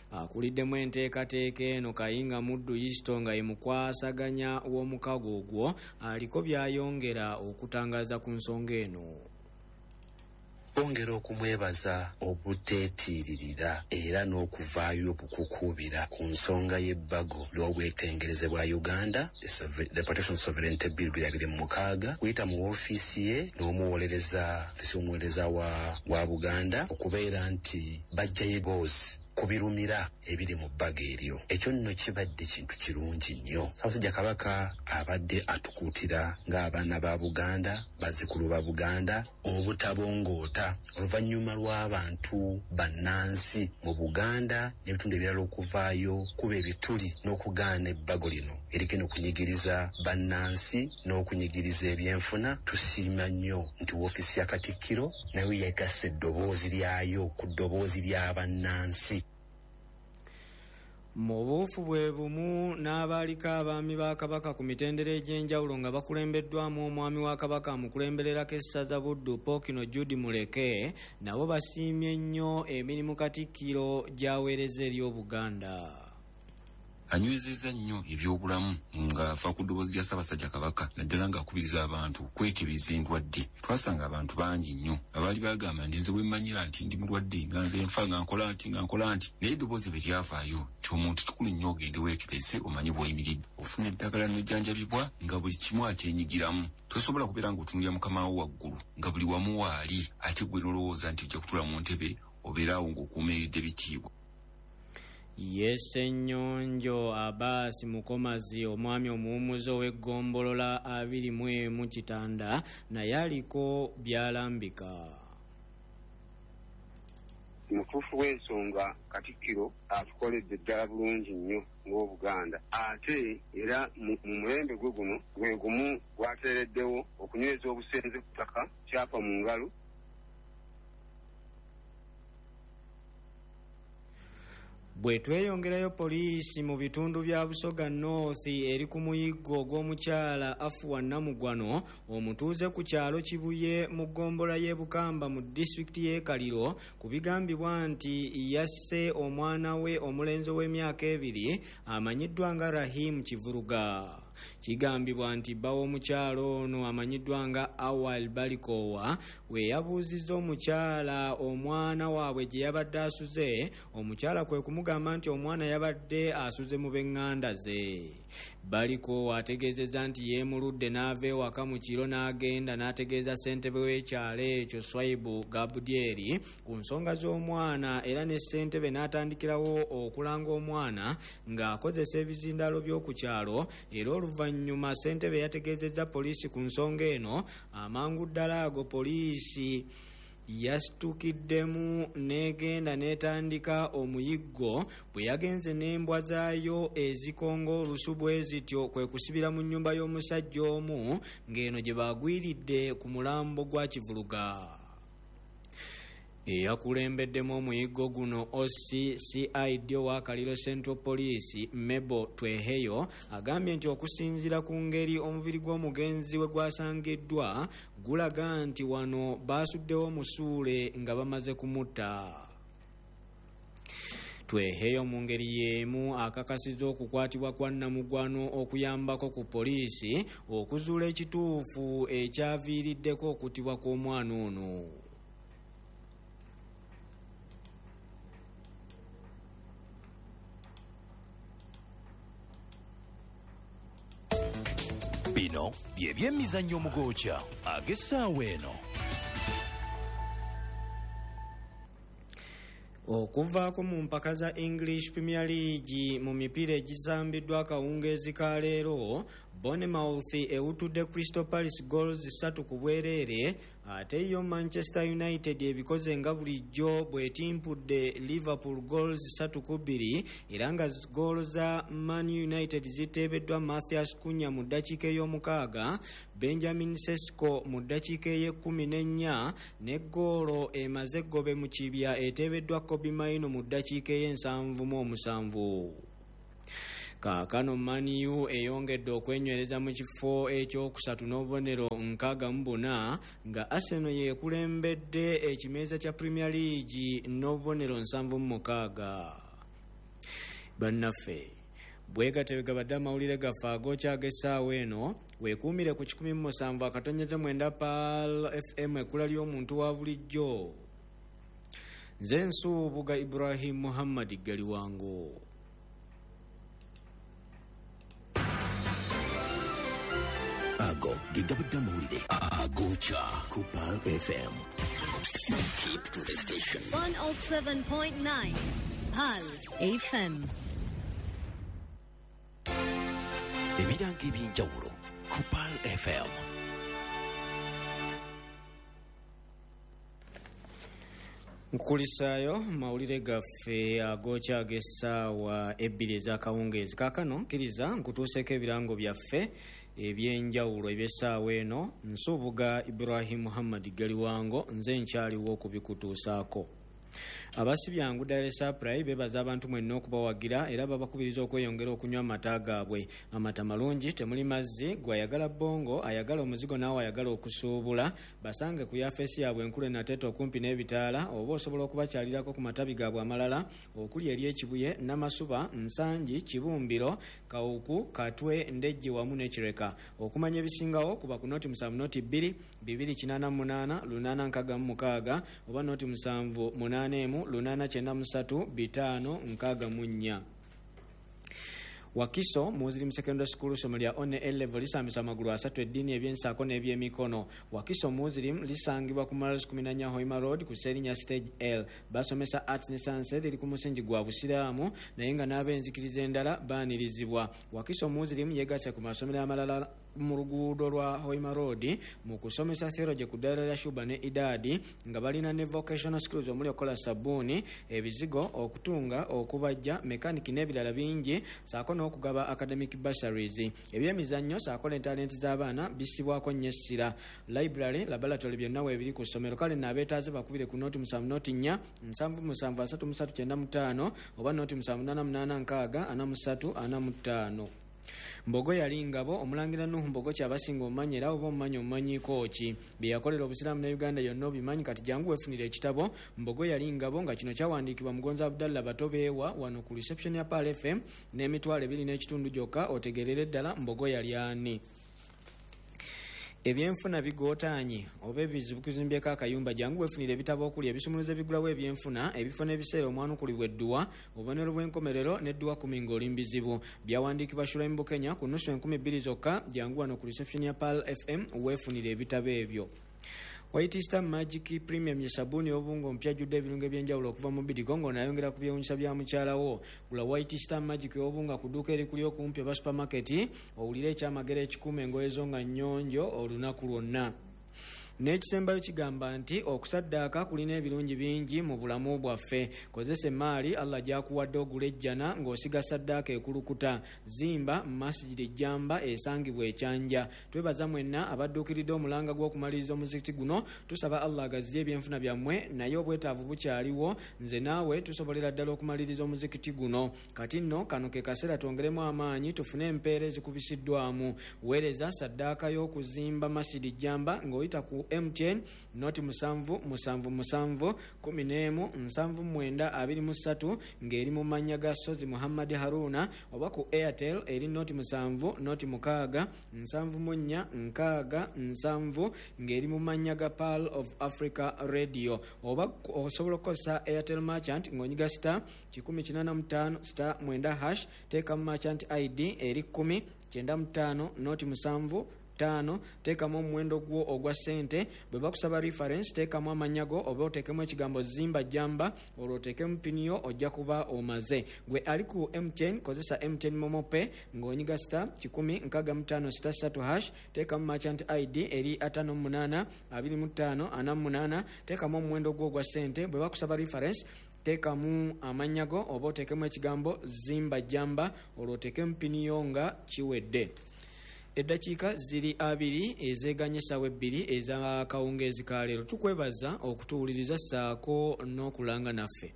Akuliddemu enteekateeka eno Kayinga Muddu Isto nga ye mukwasaganya w'omukago ogwo aliko by'ayongera okutangaza ku nsonga eno. Bongera okumwebaza obuteetiiririra era n'okuvaayo obukukuubira ku nsonga y'ebbago ly'obwetengereze bwa Uganda, the Protection of Sovereignty Bill 2026, kuyita mu woofiisi ye n'omuwolereza ofiisi y'omuwolereza wa Buganda okubeera nti bajjayo ebboozi ku birumira ebiri mu bbago eryo. Ekyo nno kibadde kintu kirungi nnyo. Ssaabasajja Kabaka abadde atukuutira ng'abaana ba Buganda, bazzukulu ba Buganda, obutabongoota oluvannyuma lw'abantu bannansi mu Buganda n'ebitundu ebirala okuvaayo kuba ebituli n'okugaana ebbago lino erigenda okunyigiriza bannansi n'okunyigiriza ebyenfuna. Tusiima nnyo nti woofiisi ya Katikkiro nayo yegasse eddoboozi lyayo ku ddoboozi ly'abannansi. Mu buufu bwe bumu n'abaaliko abaami ba Kabaka ku mitendera egy'enjawulo nga bakulembeddwamu omwami wa Kabaka amukulembererako essaza Buddu Ppookino Jude Muleke nabo basiimye nnyo emirimu Katikkiro gy'aweereza eri Obuganda. Anywezezza nnyo ebyobulamu ng'ava ku ddoboozi lya Ssaabasajja Kabaka, naddala ng'akubiriza abantu okwekebeza endwadde. Twasanga abantu bangi nnyo abaali bagamba nti nze bwe mmanyira nti ndi mulwadde nga nze nfa nga nkola nti nga nkola nti, naye eddoboozi bwe lyavaayo nti omuntu kikulu nnyo ogende weekebeze omanye bw'oyimiridde, ofuna eddagala n'ojjanjabibwa nga buli kimu akyenyigiramu. Tosobola kubeera ng'otunuulira mukama wo waggulu nga buli wamu waali, ate gwe n'olowooza nti ojja kutuula mu ntebe obeere awo ng'okuumiridde bitiibwa. Ye Ssennyonjo Abaasi Mukomazi omwami omuwummuzi ow'eggombolola 21 Kitanda naye aliko by'alambika. Mutuufu w'ensonga Katikkiro atukoledde ddala bulungi nnyo ng'Obuganda, ate era mu mulembe gwe guno gwe gumu gwateereddewo okunyweza obusenze ku ttaka kyapa mu ngalo. Bwe tweyongerayo, poliisi mu bitundu bya Busoga North eri ku muyiggo ogw'omukyala Afuwa Namugwano omutuuze ku kyalo Kibuye mu ggombolola y'e Bukamba mu disitulikiti y'e Kaliro ku bigambibwa nti yasse omwana we omulenzi ow'emyaka 2 amanyiddwa nga Rahim Kivuruga. Kigambibwa nti bba w'omukyala ono amanyiddwa nga Awal Balikowa we yabuuzizza omukyala omwana waabwe gye yabadde asuze, omukyala kwe kumugamba nti omwana yabadde asuze mu b'eŋŋanda ze. Balikowa ategeezezza nti yeemuludde n'ava ewaka mu kiro n'agenda n'ategeeza ssentebe w'ekyalo ekyo Swaibu Gabudyeri ku nsonga z'omwana, era ne ssentebe n'atandikirawo okulanga omwana ng'akozesa ebizindaalo by'oku kyalo. Era oluvannyuma ssentebe yategeezezza poliisi ku nsonga eno. Amangu ddala ago poliisi yasitukiddemu n'egenda n'etandika omuyiggo bwe yagenze n'embwa zaayo ezikonga olusu bwe zityo kwe kusibira mu nnyumba y'omusajja omu ng'eno gye baagwiridde ku mulambo gwa Kivuluga. Eyakulembeddemu omuyiggo guno OC CID owa Kaliro Central Police Mebo Tweheyo agambye nti okusinziira ku ngeri omubiri gw'omugenzi we gwasangiddwa gulaga nti wano baasuddewo omusuule nga bamaze kumutta. Tweheyo mu ngeri y'emu akakasizza okukwatibwa kwa Namugwano okuyambako ku poliisi okuzuula ekituufu ekyaviiriddeko okuttibwa kw'omwana ono. Bino bye byemizannyo omugooca ag'essaawa eno. Okuvaako mu mpaka za English Premier League mu mipiira egisambiddwa akawungeezi ka leero, Bournemouth ewutudde Crystal Palace goals 3 ku bwereere, ate yo Manchester United ebikoze nga bulijjo bw'etimpudde Liverpool goals 3-2, era nga goolo za Man United ziteebeddwa Mathias Cunha mu ddakiika ey'omukaaga, Benjamin Sesko mu ddakiika ey'ekkumi n'ennya, ne goolo emaze eggobe mu kibya eteebeddwa Kobbie Mainoo mu ddakiika ey'e77. Kaakano Man U eyongedde okwenywereza mu kifo ekyokusatu n'obubonero 64, nga Arsenal yekulembedde ekimeeza kya Premier League n'obubonero 76. Bannaffe, bwegatebe gabadde amawulire gaffe agookya ag'essaawa eno. Weekuumire ku 107.9 Pearl FM, ekkula ly'omuntu wa bulijjo. Nze Nsuubuga Ibrahim Muhammad Galiwango. Ago ge gabadde amawulire agookya ku Pearl FM. Keep to the station. 107.9 Pearl FM. Ebirango ebyenjawulo ku Pearl FM. Nkukulisaayo mawulire gaffe agookya ag'essaawa 2 ez'akawungeezi. Kaakano kkiriza nkutuuseeko ebirango byaffe ebyenjawulo eby'essaawa eno. Nsuubuga Ibrahim Muhammad Galiwango, nze nkyaliwo okubikutuusaako. Abasibyangu Dairy Supply bebaza abantu mwenna okubawagira, era babakubiriza okweyongera okunywa amata gaabwe. Amata malungi, temuli mazzi. Gwayagala bongo, ayagala omuzigo, naawe ayagala okusuubula, basange ku yafeesi yaabwe enkulu enateeta okumpi n'ebitaala, oba osobola okubakyalirako ku matabi gaabwe amalala okuli ery'Ekibuye, Namasuba, Nsangi, Kibumbiro, Kawuku, Katwe, Ndejje wamu n'Ekireka. Okumanya ebisingawo kuba ku 070 2 288 866 oba 078 893 564. Wakiso Muslim Secondary School, somo lya one A level, lisambisa amagulu asatu: eddiini, ebyensaako n'ebyemikono. Wakiso Muslim lisangibwa ku Miles 14 Hoima Road ku Serinya Stage L. Basomesa arts ne science, liri ku musingi gwa Busiraamu, naye nga n'ab'enzikiriza endala baanirizibwa. Wakiso Muslim yegasse ku masomero amalala mu luguudo lwa Hoima Road mu kusomesa theology ku ddaala lya Shuba ne Idaadi, nga balina ne vocational skills omuli okukola sabbuuni, ebizigo, okutunga, okubajja, mekaniki n'ebirala bingi, saako n'okugaba academic bursaries. Ebyemizannyo saako ne talenti z'abaana bissibwako nnyo essira. Library, laboratory, byonna weebiri ku ssomero. Kale naabeetaaze bakubire ku 070 4 77 33 95 oba 078 8 6 43 45. Mbogo yali ngabo. Omulangira Nuhu Mbogo kyabasinga omumanyi, era oba omumanyi omumanyiiko ki? Bye yakolera Obusiraamu ne Uganda yonna obimanyi. Kati jangu weefunira ekitabo Mbogo yali ngabo, nga kino kyawandiikibwa Mugonzi Abdallah Batobeewa, wano ku reception ya Pearl FM n'2,500 gyokka, otegerere ddala Mbogo yali ani. Ebyenfuna bigootaanye oba ebizibu kuzimbyeko akayumba, jangu weefunira ebitabo okuli ebisumuluzo ebigulawo ebyenfuna, ebifo n'ebiseera omwanukulibwa edduwa, obubonero bw'enkomerero n'edduwa 10 ng'oli mbizibu. Byawandiikibwa Shuraim Bukenya ku nusu 2000 zokka. Jangu wano ku reception ya Pearl FM weefunira ebitabo ebyo. White Star Magic Premium ye sabbuuni y'obungo omupya ajjudde ebirungo ebyenjawulo okuva mu Bidigo, ng'onayongera ku byewunyisa bya mukyalawo. Gula White Star Magic ey'obunga ku dduuka erikuli okumpi oba supermarket, owulire ekyamagero ekikuuma engoye zo nga nnyonjo olunaku lwonna. N'ekisembayo kigamba nti okusaddaaka kulina ebirungi bingi mu bulamu bwaffe. Kozesa emaali Allah gy'akuwadde ogula ejjana ng'osiga saddaaka ekulukuta. Zimba Masjidi Ejjamba esangibwa Ekyanja. Twebaza mwenna abadduukiridde omulanga gw'okumaliriza omuzikiti guno. Tusaba Allah agaziye ebyenfuna byammwe, naye obwetaavu bukyaliwo. Nze naawe tusobolera ddala okumaliriza omuzikiti guno. Kati nno kano ke kaseera twongeremu amaanyi tufune empeera ezikubisiddwamu. Weereza saddaaka y'okuzimba Masjidi Jjamba ng'oyita ku MTN 077 11 79 23, ng'eri mu mannya ga Sozi Muhammad Haruna, oba ku Airtel eri 070 06 74 60 70, ng'eri mu mannya ga Pearl of Africa Radio. Oba osobola okukozesa Airtel Merchant ng'onyiga *185*9#, teekamu merchant ID eri 10 95 07. 5, teekamu omuwendo gwo ogwa ssente. Bwe bakusaba reference, teekamu amannya go oba oteekemu ekigambo zimba jamba, olwo oteekemu pini yo, ojja kuba omaze. Gwe ali ku MTN, kozesa MTN MoMo Pay ng'onyiga star 165 star 3 hash, teekamu merchant ID eri 58 25 48, teekamu omuwendo gwo ogwa ssente. Bwe bakusaba reference, teekamu amannya go oba oteekemu ekigambo zimba jamba, olwo oteekemu pini yo nga kiwedde. Eddakiika ziri 2 ezeganye essaawa 2 ez'akawungeezi ka leero. Tukwebaza okutuwuliriza ssaako n'okulanga naffe.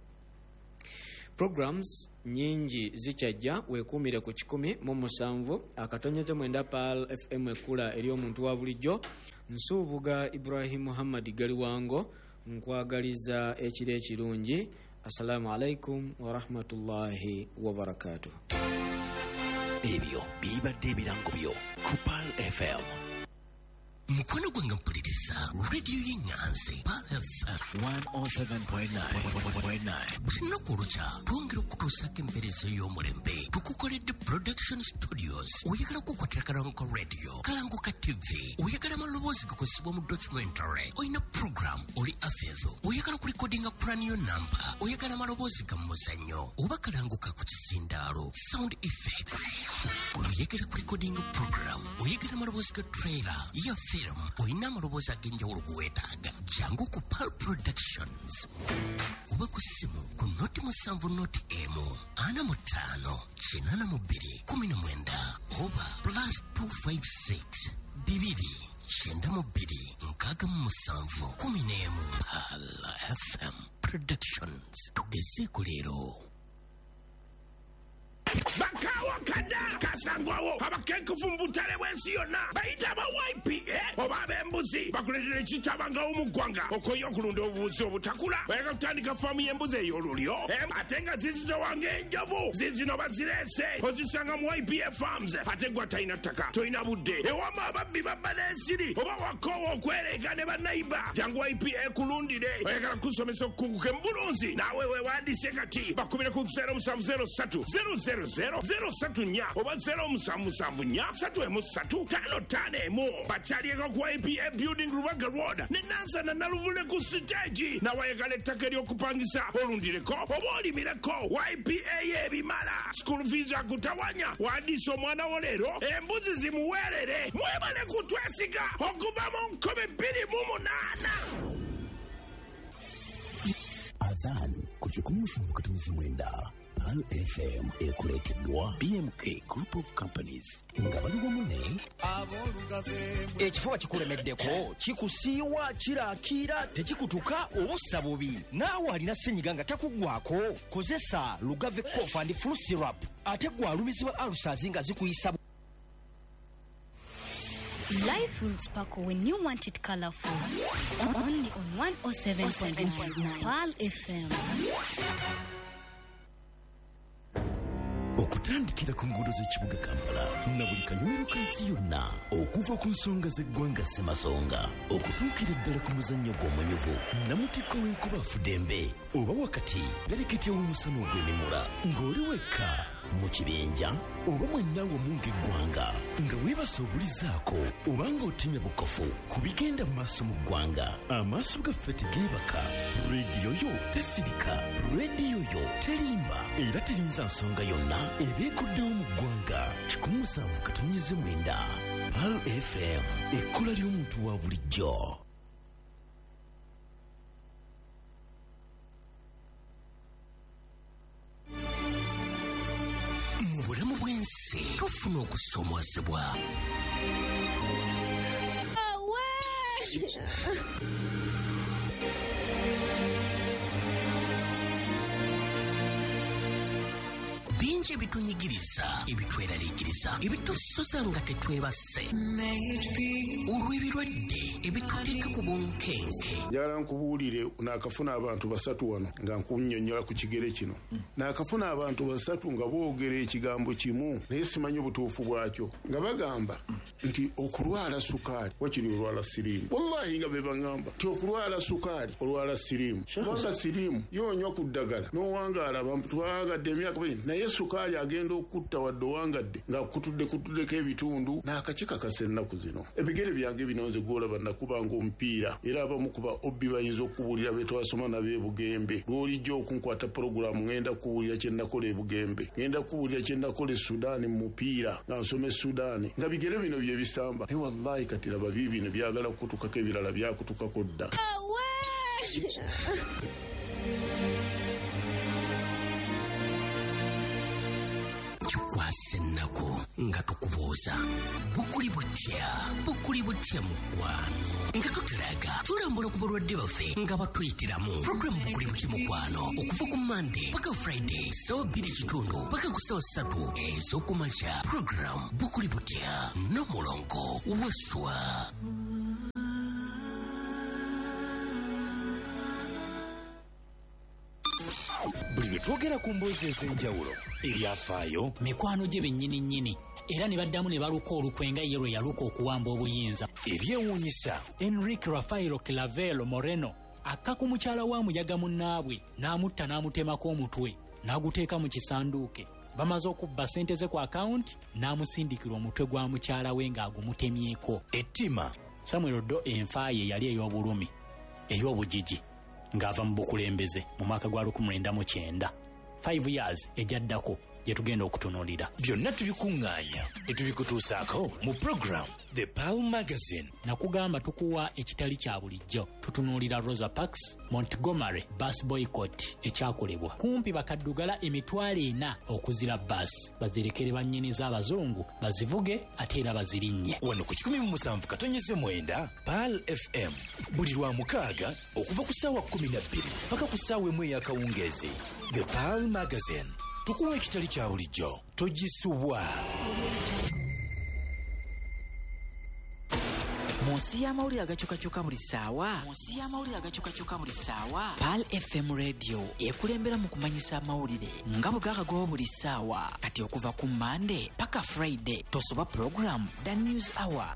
Programs nyingi zikyajja, weekuumire ku 107.9 Pearl FM, ekkula ery'omuntu wa bulijjo. Nsuubuga Ibrahim Muhammad Galiwango, nkwagaliza ekiro ekirungi. Assalamu alaikum warahmatullahi wabarakatuh. Ebyo bibadde ebirango byo ku Pearl FM. Mukwano gwange mpuliriza rediyo y'Ennyanzi Pearl FM 107.9. Buli lunaku olukya twongera okutuusaako empeereza ey'omulembe. Tukukoledde production studios. Oyagala kukwatira kalango ka radio, kalango ka TV, oyagala amaloboozi gakozesebwa mu documentary, olina program, oli afezo, oyagala kulikodinga puraniyo namba, oyagala amaloboozi ga muzannyo oba kalango ka ku kisindaalo, sound effects, oyagala kulikodinga program, oyagala amaloboozi ga trailer ya film, olina amaloboozi ag'enjawulo geweetaaga, jangu ku Pearl Productions oba ku ssimu ku 07 01 45 82 19 oba +256 2 92 67 11. Pearl FM Productions, tugezeeko leero. Bakawa kada kasangwawo abakenkufu mu butale bw'ensi yonna bayita aba YPA oba ab'embuzi bakuleetera ekitabangawo mu ggwanga okoye okulunda obubuzi obutakula. Oyagala kutandika faamu y'embuzi ey'olulyo ate nga zizitowanga enjovu, zizino bazireese ozisanga mu YPA Farms. Ate gwe atalina ttaka, tolina budde, ewama ababbi babba n'ensiri oba wakoowa okwereega ne bannayiba, jangu YPA ekulundire. Oyagala kusomesa okukuguka mu bulunzi, naawe weewandise kati bakubire ku 0703 000 034 oba 0774 313 551. Bakyalieko ku YPA Building Rubaga Road ne Nansana Naluvule ku siteegi. Nawayagala ettaka ery'okupangisa olundireko oba olimireko, YPA y'ebimala. School fees akutawanya, wandiisa omwana wo leero, embuzi zimuweerere. Mwebale kutwesiga okuva mu 2008. Adhan ku 107.9 Pearl FM ekuleeteddwa BMK Group of Companies nga bali wamu ne Ekifuba kikulemeddeko, kikusiiwa, kirakiira, tekikutuka, obussa bubi. Naawe alina ssenyiga nga takuggwako, kozesa Lugave Cough and Flu Syrup. Ate gwe alumizibwa ulcers nga zikuyisa. Life will sparkle when you want it colorful. Only on 107.9 Pearl FM. Okutandikira ku nguudo z'ekibuga Kampala na buli kanyomero k'ensi yonna, okuva ku nsonga z'eggwanga Ssemasonga okutuukira ddala ku muzannyo gw'omunyuvu namutikko w'enkuba afudembe oba wakati bereketya w'omusana ogw'emimula, ng'oli wekka mu kibinja oba mwenna wamu ng'eggwanga, nga weebasa obulizaako oba ng'otemya bukofu ku bigenda mu maaso mu ggwanga. Amaaso gaffe tegeebaka, rediyo yo tesirika, rediyo yo terimba era terinza nsonga yonna ebeekuddewo mu ggwanga. 107.9 Pearl FM, ekkula ly'omuntu wa bulijjo. Mu bulamu bw'ensi tufuna okusoomoozebwa. Bingi ebitunyigiriza, ebitweraliikiriza, ebitusuza nga tetwebase olw'ebirwadde ebituteeka ku bunkenke. Njagala nkubuulire, naakafuna abantu basatu wano nga nkunnyonnyola ku kigere kino. Naakafuna abantu basatu nga boogera ekigambo kimu naye simanyi obutuufu bwakyo, nga bagamba Nti okulwala sukaali wakiri olwala siriimu. Wallahi nga be baŋŋamba nti okulwala sukaali olwala siriimu, kubanga siriimu yoonywa ku ddagala n'owangaala, twangadde emyaka bingi, naye sukaali agenda okutta wadde owangadde ng'akutudde kutuddeko ebitundu n'akakikakasa. Ennaku zino ebigere byange bino nze gwolaba nakubanga omupiira, era abamu kuba obbi bayinza okubuulira be twasoma nabo e Bugembe. Lw'olijja okunkwata puroguramu, ŋŋenda kubuulira kye nakola e Bugembe, ŋŋenda kubuulira kye nakola e Sudaani mu mupiira nga nsoma e Sudaani, nga bigere bino bye bisamba. Naye wallahi kati laba biibino byagala kukutukako, ebirala byakutukako dda. Kikwasa ennaku nga tukubuuza bukuli butya, bukuli butya mukwano, nga tutulaga tulambula ku balwadde baffe nga batuyitiramu puroguramu Bukuli Butya Mukwano, okuva ku Mande paka Friday 2:15 paka ku 3:00 ez'okumakya. Puroguramu Bukuli Butya n'omulongo Waswa. Buli lwe twogera ku mboozi ez'enjawulo, ebyafaayo, mikwano gye bennyini nnyini era ne baddamu ne baluka olukwe nga ye lwe yaluka okuwamba obuyinza. Ebyewuunyisa, Enrique Rafaelo Clavelo Moreno akka ku mukyala wa muyaga munnaabwe n'amutta, n'amutemako omutwe n'aguteeka mu kisanduuke. Bamaze okubba ssente ze ku akawunti, n'amusindikira omutwe gwa mukyala we ng'agumutemyeko. Ettima, Samuel Doe enfa ye yali ey'obulumi, ey'obugigi, ng'ava mu bukulembeze mu mwaka gwa 1990, 5 years ejaddako gye tugenda okutunuulira. Byonna tubikuŋŋaanya ne tubikutuusaako mu program The Pearl Magazine. Nakugamba tukuwa ekitali kya bulijjo. Tutunuulira Rosa Parks Montgomery bus boycott ekyakolebwa kumpi bakaddugala 400,000 okuzira baasi bazirekere bannyiniza abazungu bazivuge ate era bazirinnye. Wano ku 107.9 Pearl FM buli lwa mukaaga okuva ku 12:00 paka ku 1:00 ey'akawungeezi. The Pearl Magazine, tukuwa ekitali kya bulijjo, togisubwa. Mu nsi y'amawulire agakyukakyuka buli ssaawa, mu nsi y'amawulire agakyukakyuka buli ssaawa, Pearl FM Radio ekulembera mu kumanyisa amawulire nga bwe gakagwawo buli ssaawa. Kati okuva ku Mande paka Friday tosoba program The News Hour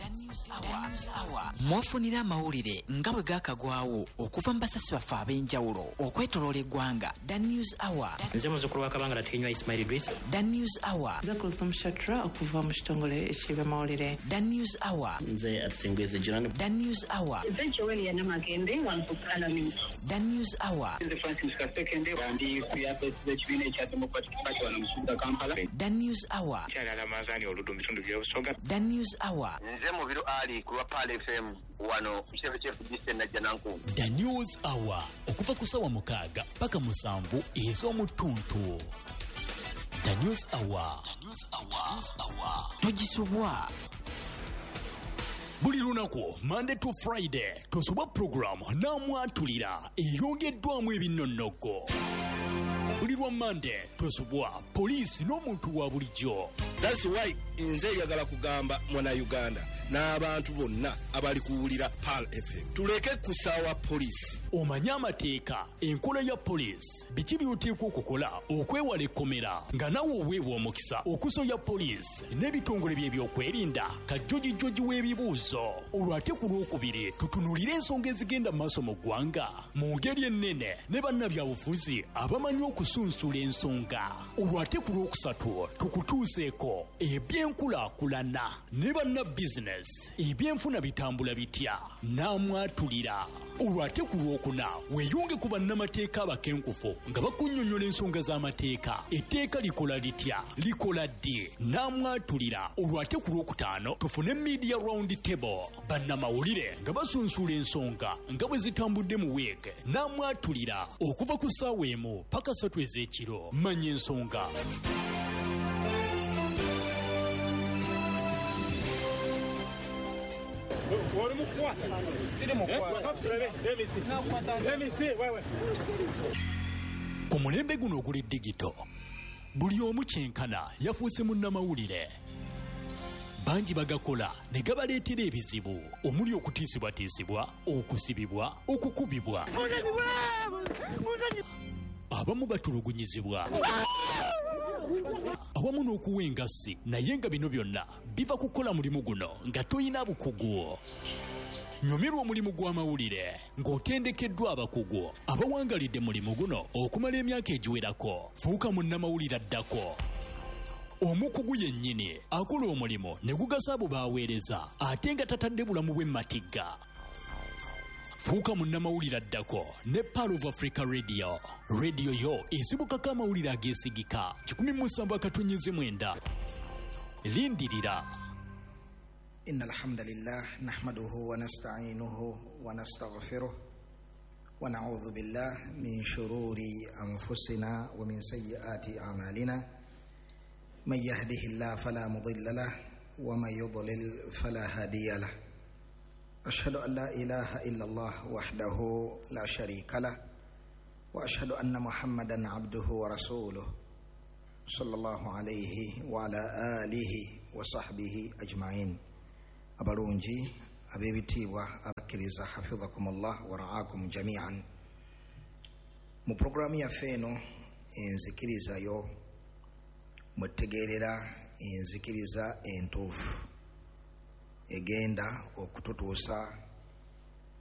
mwofunira amawulire nga bwe gakagwawo okuva mu basasi baffe ab'enjawulo okwetoloola eggwanga. The News Hour. Nze muzzukulu wa Kabangala Tenywa Ismail Idris. The News Hour. Nze Kulthum Shatra okuva mu kitongole eky'ebyamawulire. The News Hour. Nze Atsingwezi Joan. The News Hour. Nze Joel Namagembe wano ku Parliament. The News Hour. Nze Francis Kasekende ndi ku yafesi z'ekibiina ekya Democratic Party wano mu kibuga Kampala. The News Hour. Kyala Ramadhani Oludu mu bitundu by'Obusoga. The News Hour. Nze Mubiru Ali ku lwa Pearl FM wano ku kitebe ky'e FDC Najjanankumbi. The News Hour okuva ku 6:00 paka 7:00 ez'omuttuntu. The News Hour. The News Hour. Togisubwa. Buli lunaku Monday to Friday tosubwa puroguramu n'amwatulira eyongeddwamu ebinnonnoggo. Buli lwa Monday tosubwa poliisi n'omuntu wa bulijjo. That's why nze njagala kugamba mwana Uganda n'abantu bonna abali kuwulira Pearl FM, tuleke kusaawa poliisi. Omanye amateeka, enkola ya poliisi, biki by'oteekwa okukola okwewala ekkomera, nga nawe oweebwa omukisa okusoya poliisi n'ebitongole by'ebyokwerinda kajjojijjoji w'ebibuuzo. Olwo ate ku Lwokubiri tutunuulire ensonga ezigenda mu maaso mu ggwanga mu ngeri ennene ne bannabyabufuzi abamanyi okusunsula ensonga. Olwo ate ku Lwokusatu tukutuuseeko ebyenkulaakulana ne banna bizinesi, ebyenfuna bitambula bitya n'amwatulira. Olwo ate ku Lwokuna weeyunge ku bannamateeka abakenkufu nga bakunnyonnyola ensonga z'amateeka, etteeka likola litya, likola ddi n'amwatulira. Olwo ate ku Lwokutaano tufune media round table, bannamawulire nga basunsula ensonga nga bwe zitambudde mu wiiki n'amwatulira okuva ku 1:00 paka 3:00 ez'ekiro. Manya ensonga. Ku mulembe guno oguli digito, buli omu kyenkana yafuuse munnamawulire. Bangi bagakola ne gabaleetera ebizibu omuli okutiisibwatiisibwa, okusibibwa, okukubibwa. Abamu batulugunyizibwa. Awamu n'okuwa engassi, naye nga bino byonna biva kukola mulimu guno nga toyina bukugu. Nyumirwa omulimu gw'amawulire ng'otendekeddwa abakugu abawangalidde mulimu guno okumala emyaka egiwerako. Fuuka munnamawulire addako, omukugu yennyini akola omulimu ne gugasa abo b'aweereza ate nga tatadde bulamu bwe matigga. Fuuka munnamawulire addako ne Pearl of Africa Radio. Radio yo esibukako amawulire ageesigika 107.9. Lindirira. إن الحمد لله نحمده ونستعينه ونستغفره ونعوذ بالله من شرور أنفسنا ومن سيئات أعمالنا، من يهده الله فلا مضل له ومن يضلل فلا هادي له، أشهد أن لا إله إلا الله وحده لا شريك له، وأشهد أن محمدا عبده ورسوله صلى الله عليه وعلى آله وصحبه أجمعين. Abalungi ab'ebitiibwa abakkiriza, hafidhakumullah wa raakum jamian. Mu puroguramu yaffe eno enzikirizayo mwetegeerera enzikiriza entuufu egenda okututuusa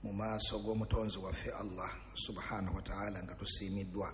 mu maaso g'omutonzi waffe Allah subhanahu wa ta'ala nga tusiimiddwa.